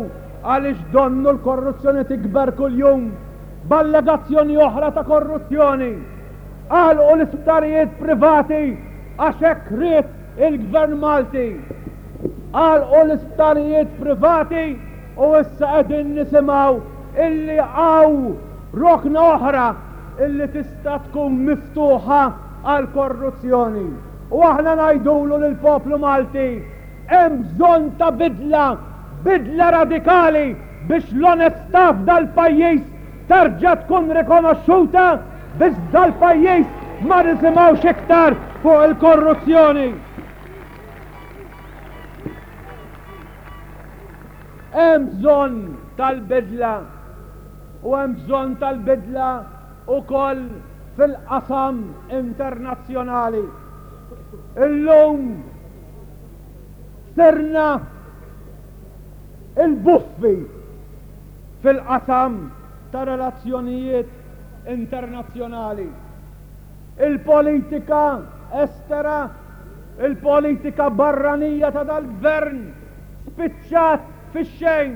għaliex donnu l-korruzzjoni tikber kuljum b'allegazzjoni oħra ta' korruzzjoni. Għalqu l-isptarijiet privati għax hekk ried il-Gvern Malti. Għalqu l-isptarijiet privati u issa qegħdin nisimgħu illi hawn rokna oħra illi tista' tkun miftuħa għall-korruzzjoni. U aħna ngħidulu lill-poplu Malti, hemm bżonn ta' bidla, bidla radikali biex l-onestà f'dal-pajjiż terġa' tkun rikonoxxuta biex f'dal-pajjiż ma nisimgħux iktar fuq il-korruzzjoni. Hemm bżonn tal-bidla u hemm bżonn tal-bidla wkoll fil-qasam internazzjonali. Illum sirna il-buffi fil-qasam ta' relazzjonijiet internazzjonali. Il-politika estera, il-politika barranija ta' dal-gvern spiċċat fix-xejn.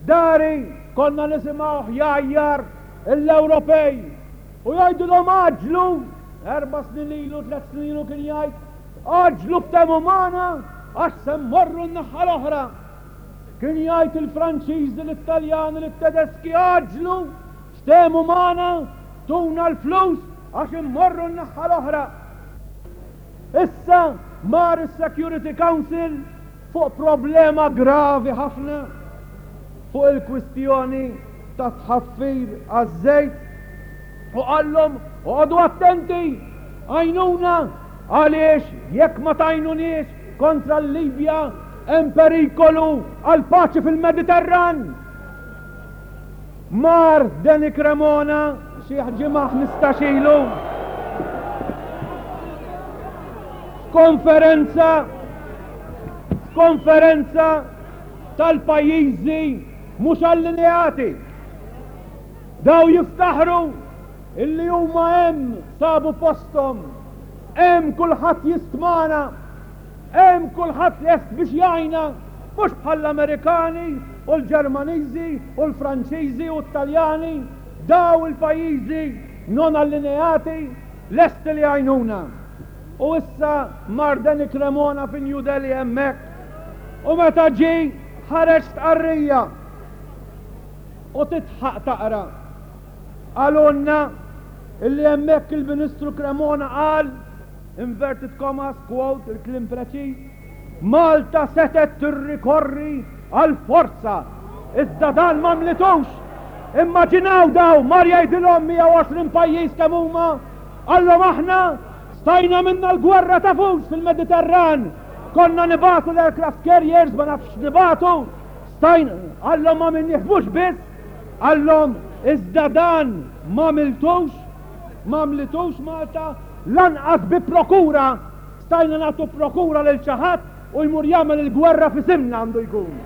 Dari konna nisimgħuh jgħajjar l-Ewropej u jgħidilhom għaġġlu, erba' snin ilu, tlett snin ilu kien jgħid, għaġġlu ftehmu magħna għax se mmorru n-naħa l-oħra. Kien jgħid il-Franċiżi, lit-Taljani, lit-Tedeski għaġġlu, ftehmu magħna, tuna l-flus għax immorru n-naħa l-oħra. Issa mar is-Security Council fuq problema gravi ħafna fuq il-kwistjoni ta' tħaffir għaż-żejt u qallhom oqogħdu attenti għajnuna għaliex jekk ma tgħinuniex kontra l-Libja hemm perikolu għall-paċi fil-Mediterran. Mar Danny Cremona xi ġimgħa 15 ilu f'konferenza f'konferenza tal-pajjiżi mhux allineati. Daw jiftaħru illi huma hemm sabu posthom, hemm kulħadd jistmana. Hemm kulħadd lest biex jgħinna, mhux bħall-Amerikani u l-Ġermaniżi u l-Franċiżi u t-Taljani, daw il-pajjiżi non allineati lesti li jgħinuna. U issa mar Danny Cremona fi New Delhi hemmhekk u meta ġie ħareġ stqarrija u titħaq taqra. Qalulna illi hemmhekk il-Ministru Cremona qal, inverted commas, quote, il-kliem preċiż, Malta setgħet tirrikorri għall-forza, iżda dan m'għamlitux! Immaġinaw daw, mar jgħidilhom 120 pajjiż kemm huma, qallhom aħna stajna għamilna l-gwerra tafux fil-Mediterran, konna nibagħtu l-aircraft carriers ma nafx x'nibagħtu, stajna, qallhom m'għamilniex mhux biss, qallhom iżda dan m'għamiltux, m'għamlitux Malta lanqas bi prokura. Stajna nagħtu prokura lil xi ħadd u jmur jagħmel il-gwerra f'isimna għandu jkun.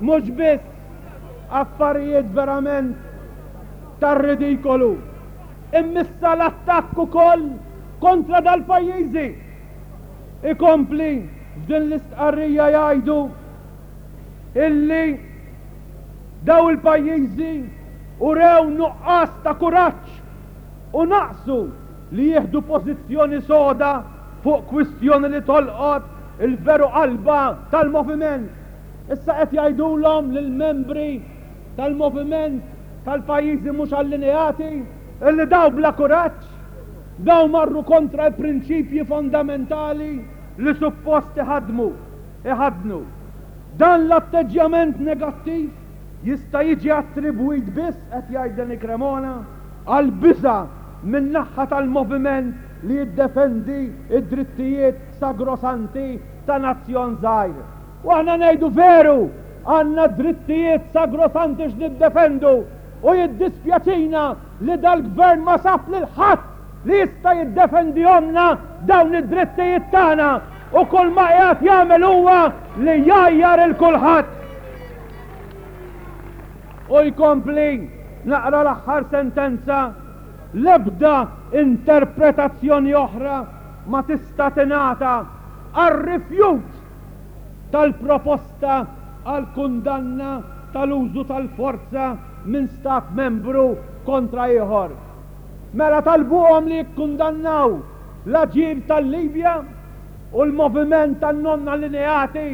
Mhux biss affarijiet verament tar-ridikolu, immissa l-attakk ukoll kontra dal-pajjiżi. Ikompli f'din l-istqarrija jgħidu illi daw il-pajjiżi urew nuqqas ta' kuraġġ u naqsu li jieħdu pożizzjoni soda fuq kwistjoni li tolqot il-veru qalba tal-moviment. Issa qed jgħidulhom lill-membri tal-moviment tal-pajjiżi mhux allineati illi daw bla kuraġġ, daw marru kontra l-prinċipji fondamentali li suppost iħaddmu, iħaddnu. Dan l-atteġġjament negattiv jista' jiġi attribwit biss, qed jgħid Danny Cremona, għall-biża' min-naħha tal-moviment li jiddefendi d-drittijiet sagrosanti ta' nazzjon żgħir. U aħna ngħidu veru, għandna drittijiet sagrosanti x'niddefendu u jiddispjaċina li dal-Gvern ma sab lil ħadd li jista' jiddefendihomlna dawn id-drittijiet tagħna u kull ma qiegħed jagħmel huwa li jgħajjar 'il kulħadd. U jkompli, naqra l-aħħar sentenza, L-ebda interpretazzjoni oħra ma tista' tingħata għar-rifjut tal-proposta għall-kundanna tal-użu tal-forza minn Stat Membru kontra ieħor. Mela talbuhom li jikkundannaw l-aġir tal-Libja u l-moviment tan-non-allineati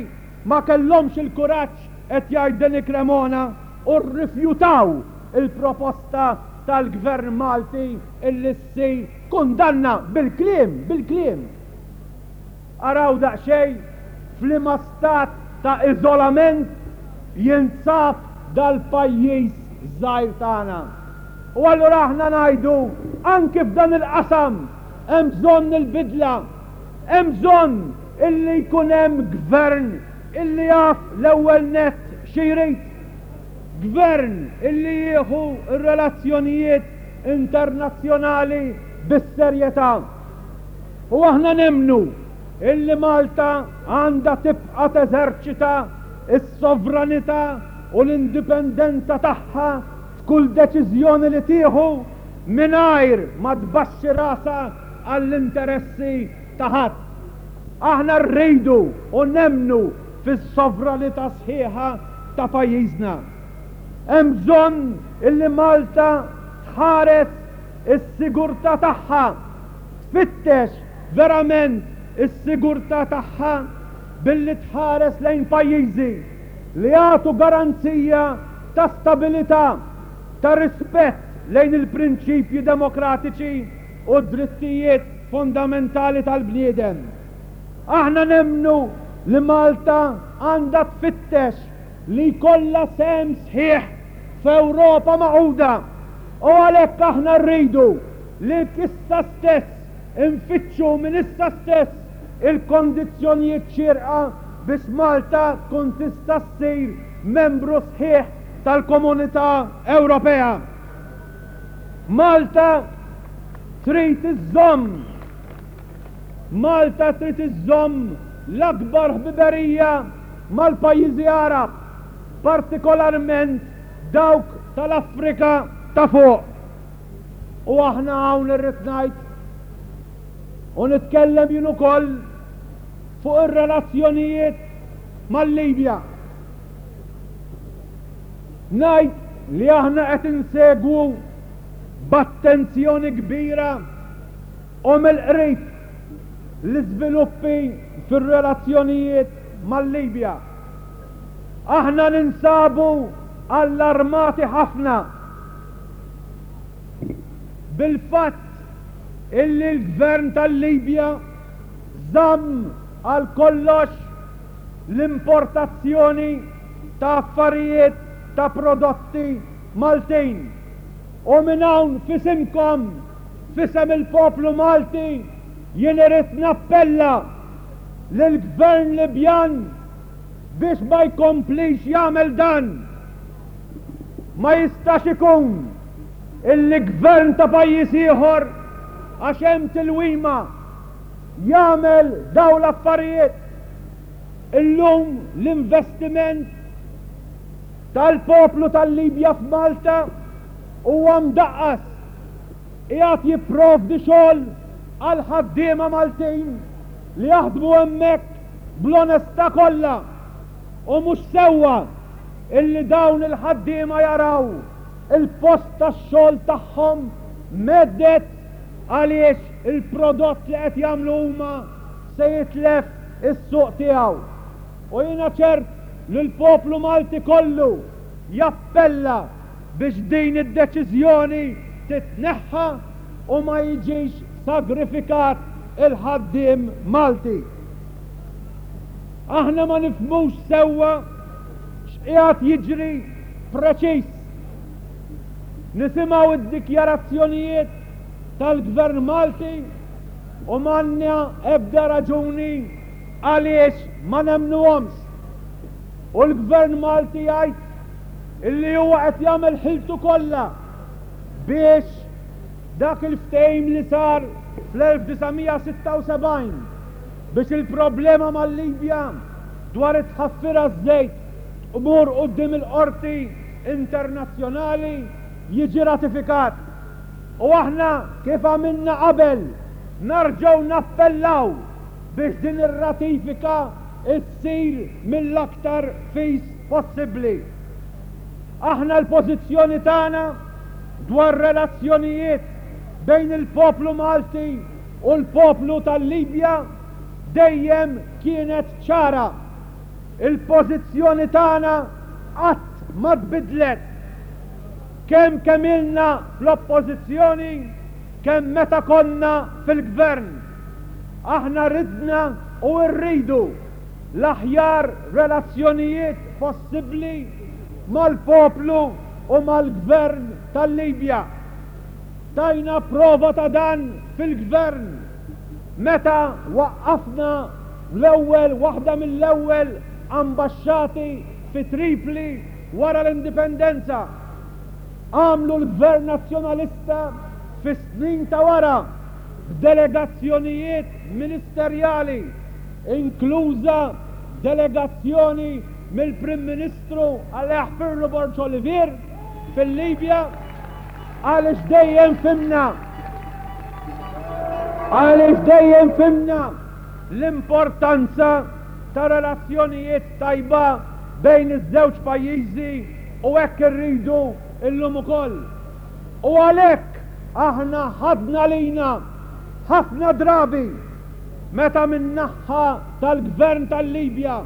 ma kellhomx il-kuraġġ qed jgħid Danny Cremona, u rrifjutaw il-proposta tal-Gvern Malti illi ssir kundanna bil-kliem, bil-kliem. Araw daqsxejn f'liema stat ta' iżolament jinsab dal-pajjiż żgħir tagħna. U allura aħna ngħidu anki f'dan il-qasam hemm bżonn il-bidla, hemm bżonn illi jkun hemm gvern Illi jaf l-ewwel nett xi jrid. Gvern illi jieħu r-relazzjonijiet internazzjonali bis-serjetà. U aħna nemmnu illi Malta għandha tibqa' teżerċita s-sovranità u l-indipendenza tagħha f'kull deċiżjoni li tieħu mingħajr ma tbaxxi rasha għall-interessi ta' ħadd. Aħna rridu u nemmnu fis-sovranità sħiħa ta' pajjiżna. Hemm bżonn illi Malta tħares is-sigurtà tagħha, tfittex verament is-sigurtà tagħha billi tħares lejn pajjiżi li jagħtu garanzija ta' stabilità, ta' rispett lejn il-prinċipji demokratiċi u d-drittijiet fundamentali tal-bniedem. Aħna nemmnu li Malta għandha tfittex li jkollha sehem sħiħ f'Ewropa magħquda u għalhekk aħna rridu li issa stess infittxu minn issa stess il-kondizzjonijiet xierqa biex Malta tkun tista' ssir membru sħiħ tal-Komunità Ewropea. Malta trid iżżomm Malta trid iżżomm l-akbar ħbiberija mal-pajjiżi Għarab, partikolarment dawk tal-Afrika ta' Fuq. U aħna hawn irrid ngħid u nitkellem jien ukoll fuq ir-relazzjonijiet mal-Libja. Ngħid li aħna qed insegwu b'attenzjoni kbira u mill-qrib l-iżviluppi fir-relazzjonijiet mal-Libja. Aħna ninsabu. allarmati ħafna bil-fatt illi l-Gvern tal-Libja żamm għal kollox l-importazzjoni ta' affarijiet ta' prodotti Maltin. U minn hawn f'isimkom, f'isem il-poplu Malti, jien irrid nappella lill-Gvern Libjan biex ma jkomplix jagħmel dan. Ma jistax ikun illi gvern ta' pajjiż ieħor għax hemm tilwima jagħmel dawn l-affarijiet. Illum l-investiment tal-poplu tal-Libja f'Malta huwa mdaqqas. Qiegħed jipprovdi xogħol għal ħaddiema Maltin li jaħdmu hemmhekk bl-onestà kollha u mhux sewwa illi dawn il-ħaddiema jaraw il-post tax-xogħol tagħhom mhedded għaliex il-prodott li qed jagħmlu huma se jitlef is-suq tiegħu. U jiena ċert li l-poplu Malti kollu jappella biex din id-deċiżjoni titneħħa u ma jiġix sagrifikat il-ħaddiem Malti. Aħna ma nifhmux sewwa x'qiegħed jiġri preċiż. Nisimgħu d-dikjarazzjonijiet tal-Gvern Malti u m'għandna ebda raġuni għaliex ma nemmnuhomx. U l-Gvern Malti jgħid illi huwa qed jagħmel ħiltu kollha biex dak il-ftehim li sar fl-1976 biex il-problema mal-Libja dwar it-tħaffir għaż-żejt tmur quddiem il-qorti internazzjonali jiġi ratifikat. U aħna kif għamilna qabel narġgħu nappellaw biex din ir-ratifika ssir mill-aktar fis possibbli. Aħna l-pożizzjoni tagħna dwar relazzjonijiet bejn il-poplu Malti u l-poplu tal-Libja dejjem kienet ċara. Il-pożizzjoni tagħna qatt ma tbiddlet. Kemm kemm ilna fl-Oppożizzjoni, kemm meta konna fil-Gvern. Aħna ridna u rridu l-aħjar relazzjonijiet possibbli mal-poplu u mal-Gvern tal-Libja. Tajna prova ta' dan fil-Gvern meta waqqafna l-ewwel waħda mill-ewwel ambaxxati fi Tripli wara l-Indipendenza. Għamlu l-Gvern Nazzjonalista fis-snin ta' wara b'delegazzjonijiet ministerjali, inkluża delegazzjoni mill-Prim Ministru Alla jaħfirlu Borg Olivier fil-Libja, għaliex dejjem fhimna għaliex dejjem fhimna l-importanza ta' relazzjonijiet tajba bejn iż-żewġ pajjiżi u hekk irridu illum ukoll. U għalhekk aħna ħadna lina ħafna drabi meta min-naħha tal-Gvern tal-Libja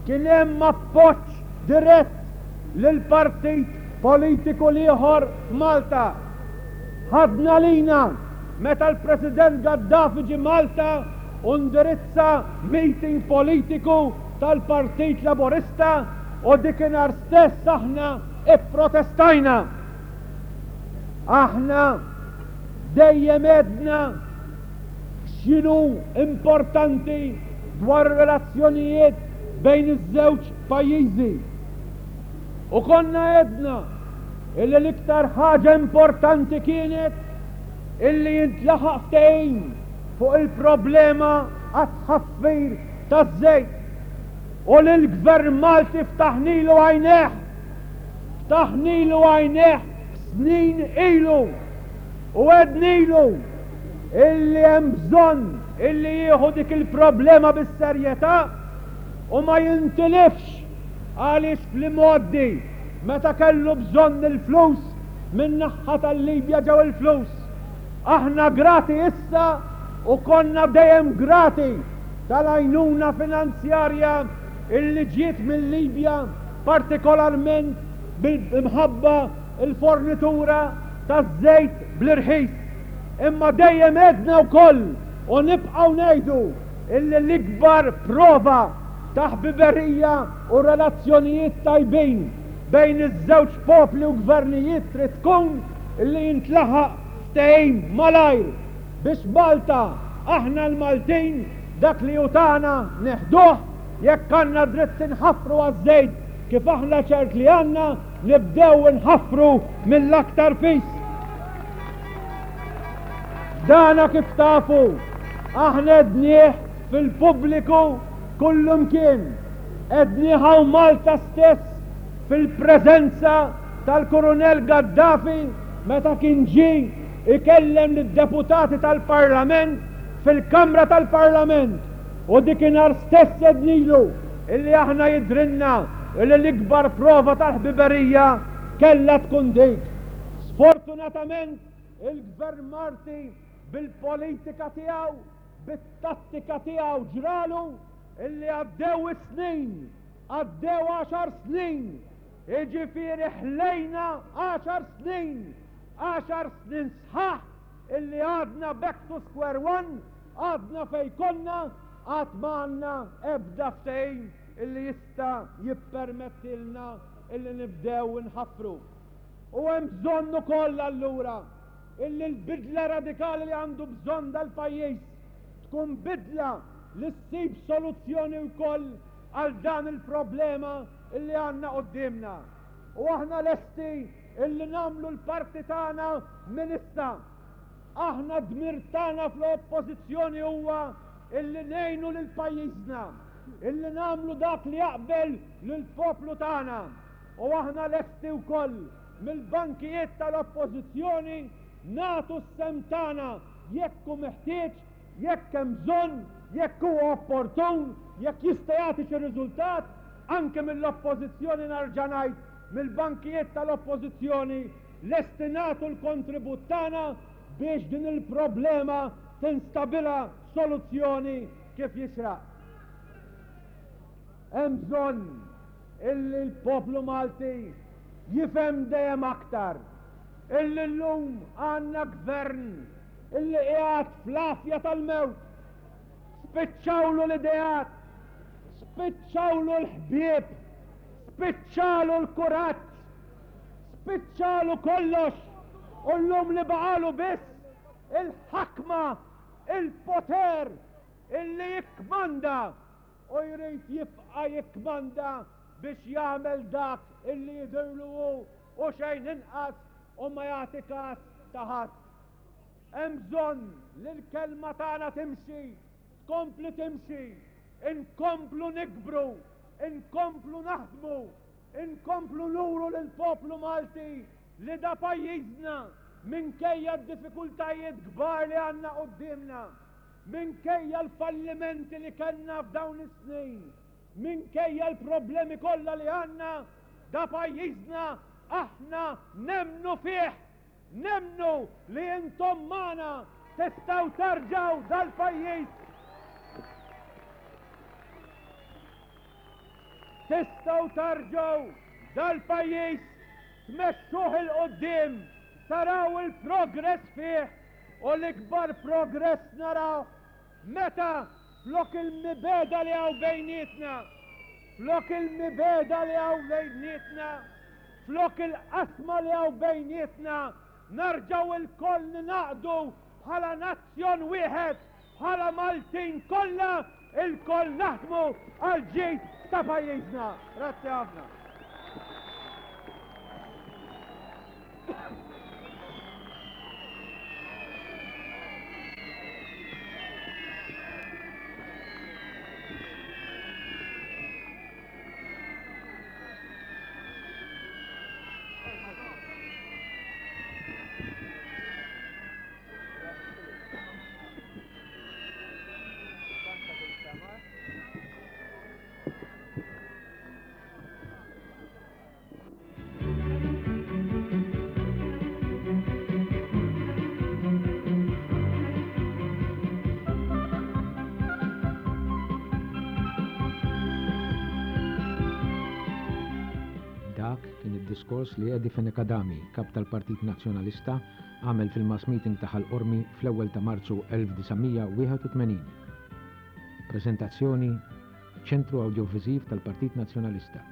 kien hemm appoġġ dirett lill-partit politiku l-ieħor f'Malta. Ħadna lina meta l-President Gaddafi ġie Malta u ndirizza meeting politiku tal-Partit Laburista u dikinhar stess aħna ipprotestajna. Aħna dejjem għedna x'inhu importanti dwar ir-relazzjonijiet bejn iż-żewġ pajjiżi. U konna għedna illi l-iktar ħaġa importanti kienet illi jintlaħaq ftehim fuq il-problema għat-tħaffir taż-żejt u li l-Gvern Malti ftaħnilu għajnejh, ftaħnilu għajnejh snin ilu u għednilu illi hemm bżonn illi jieħu dik il-problema bis-serjetà u ma jintilifx għaliex fl-imgħoddi meta kellu bżonn il-flus min-naħha tal-Libja ġew il-flus. Aħna grati issa u konna dejjem grati tal-għajnuna finanzjarja illi ġiet mil-Libja partikolarment. bil-imħabba l-fornitura taż-żejt bl-irħis. Imma dejjem għedna wkoll u nibqgħu ngħidu illi l-ikbar prova ta' ħbiberija u relazzjonijiet tajbin bejn iż-żewġ popli u gvernijiet trid tkun illi jintlaħaq ftehim malajr biex Malta, aħna l-Maltin, dak li hu tagħna neħduh, jekk għandna dritt inħaffru għaż-żejt kif aħna ċert li għandna, nibdew inħaffru mill-aktar fis. Dana kif tafu, aħna għednieh fil-pubbliku kullumkien. Għednieh hawn Malta stess fil-preżenza tal-Kurunell Gaddafi meta kien ġie ikellem lid-deputati tal-Parlament fil-Kamra tal-Parlament u dikinhar stess għednilu illi aħna jidhrilna illi l-ikbar prova tal-ħbiberija kellha tkun dik. Sfortunatament il-Gvern Malti bil-politika tiegħu, bit-tattika tiegħu ġralu illi għaddew is-snin, għaddew għaxar snin, jiġifieri ħlejna għaxar snin, għaxar snin sħaħ illi għadna back to square one, għadna fejn konna, għad ma għandna ebda ftehim illi jista' jippermettilna illi nibdew inħaffru. U hemm bżonn ukoll allura illi l-bidla radikali li għandu bżonn dal-pajjiż tkun bidla li ssib soluzzjoni wkoll għal dan il-problema illi għandna quddiemna. U aħna lesti illi nagħmlu l-parti tagħna minn issa. Aħna d-dmir tagħna fl-Oppożizzjoni huwa illi ngħinu lil pajjiżna, illi nagħmlu dak li jaqbel lill-poplu tagħna. U aħna lesti wkoll mill-bankijiet tal-Oppożizzjoni nagħtu s-sehem tagħna jekk hu meħtieġ, jekk hemm bżonn, jekk huwa opportun, jekk jista' jagħti xi riżultat, anke mill-Oppożizzjoni nerġa' ngħid, mill-bankijiet tal-Oppożizzjoni lesti nagħtu l-kontribut tagħna biex din il-problema tinstabilha soluzzjoni kif jixraq. Hemm bżonn illi l-poplu Malti jifhem dejjem aktar illi llum għandna gvern illi qiegħed fl-għafja tal-mewt. Spiċċawlu l-ideat, spiċċawlu l-ħbieb, spiċċalu l-kuraġġ, spiċċalu kollox u llum li baqalu biss il-ħakma, il-poter illi jikkmanda u jrid jibqa' jikkmanda biex jagħmel dak illi jidhirlu hu u xejn inqas u ma jagħti kas ta' ħadd. Hemm bżonn li l-kelma tagħna timxi, tkompli timxi, inkomplu nikbru, inkomplu naħdmu, inkomplu nuru lill-poplu Malti li da pajjiżna minkejja d-diffikultajiet kbar li għandna quddiemna. Minkejja l-fallimenti li kellna f'dawn is-snin, minkejja l-problemi kollha li għandna, da pajjiżna aħna nemmnu fih! Nemmnu li intom magħna tistgħu terġgħu dal-pajjiż! Tistgħu terġgħu dal-pajjiż tmexxuh 'il quddiem, taraw il-progress fih U l-ikbar progress narawh meta flok il-mibegħda li hawn bejnietna, flok il-mibegħda li hawn bejnietna, flok il-qasma li hawn bejnietna, narġgħu lkoll ningħaqdu bħala nazzjon wieħed, bħala Maltin kollha, ilkoll naħdmu għall-ġid ta' pajjiżna. Grazzi ħafna. Diskors li Eddie Fenech Adami, Kap tal-Partit Nazzjonalista, għamel fil-mass meeting ta' Ħal Qormi fl-ewwel ta' Marzu 1981. Preżentazzjoni, Ċentru Awdjoviżiv tal-Partit Nazzjonalista.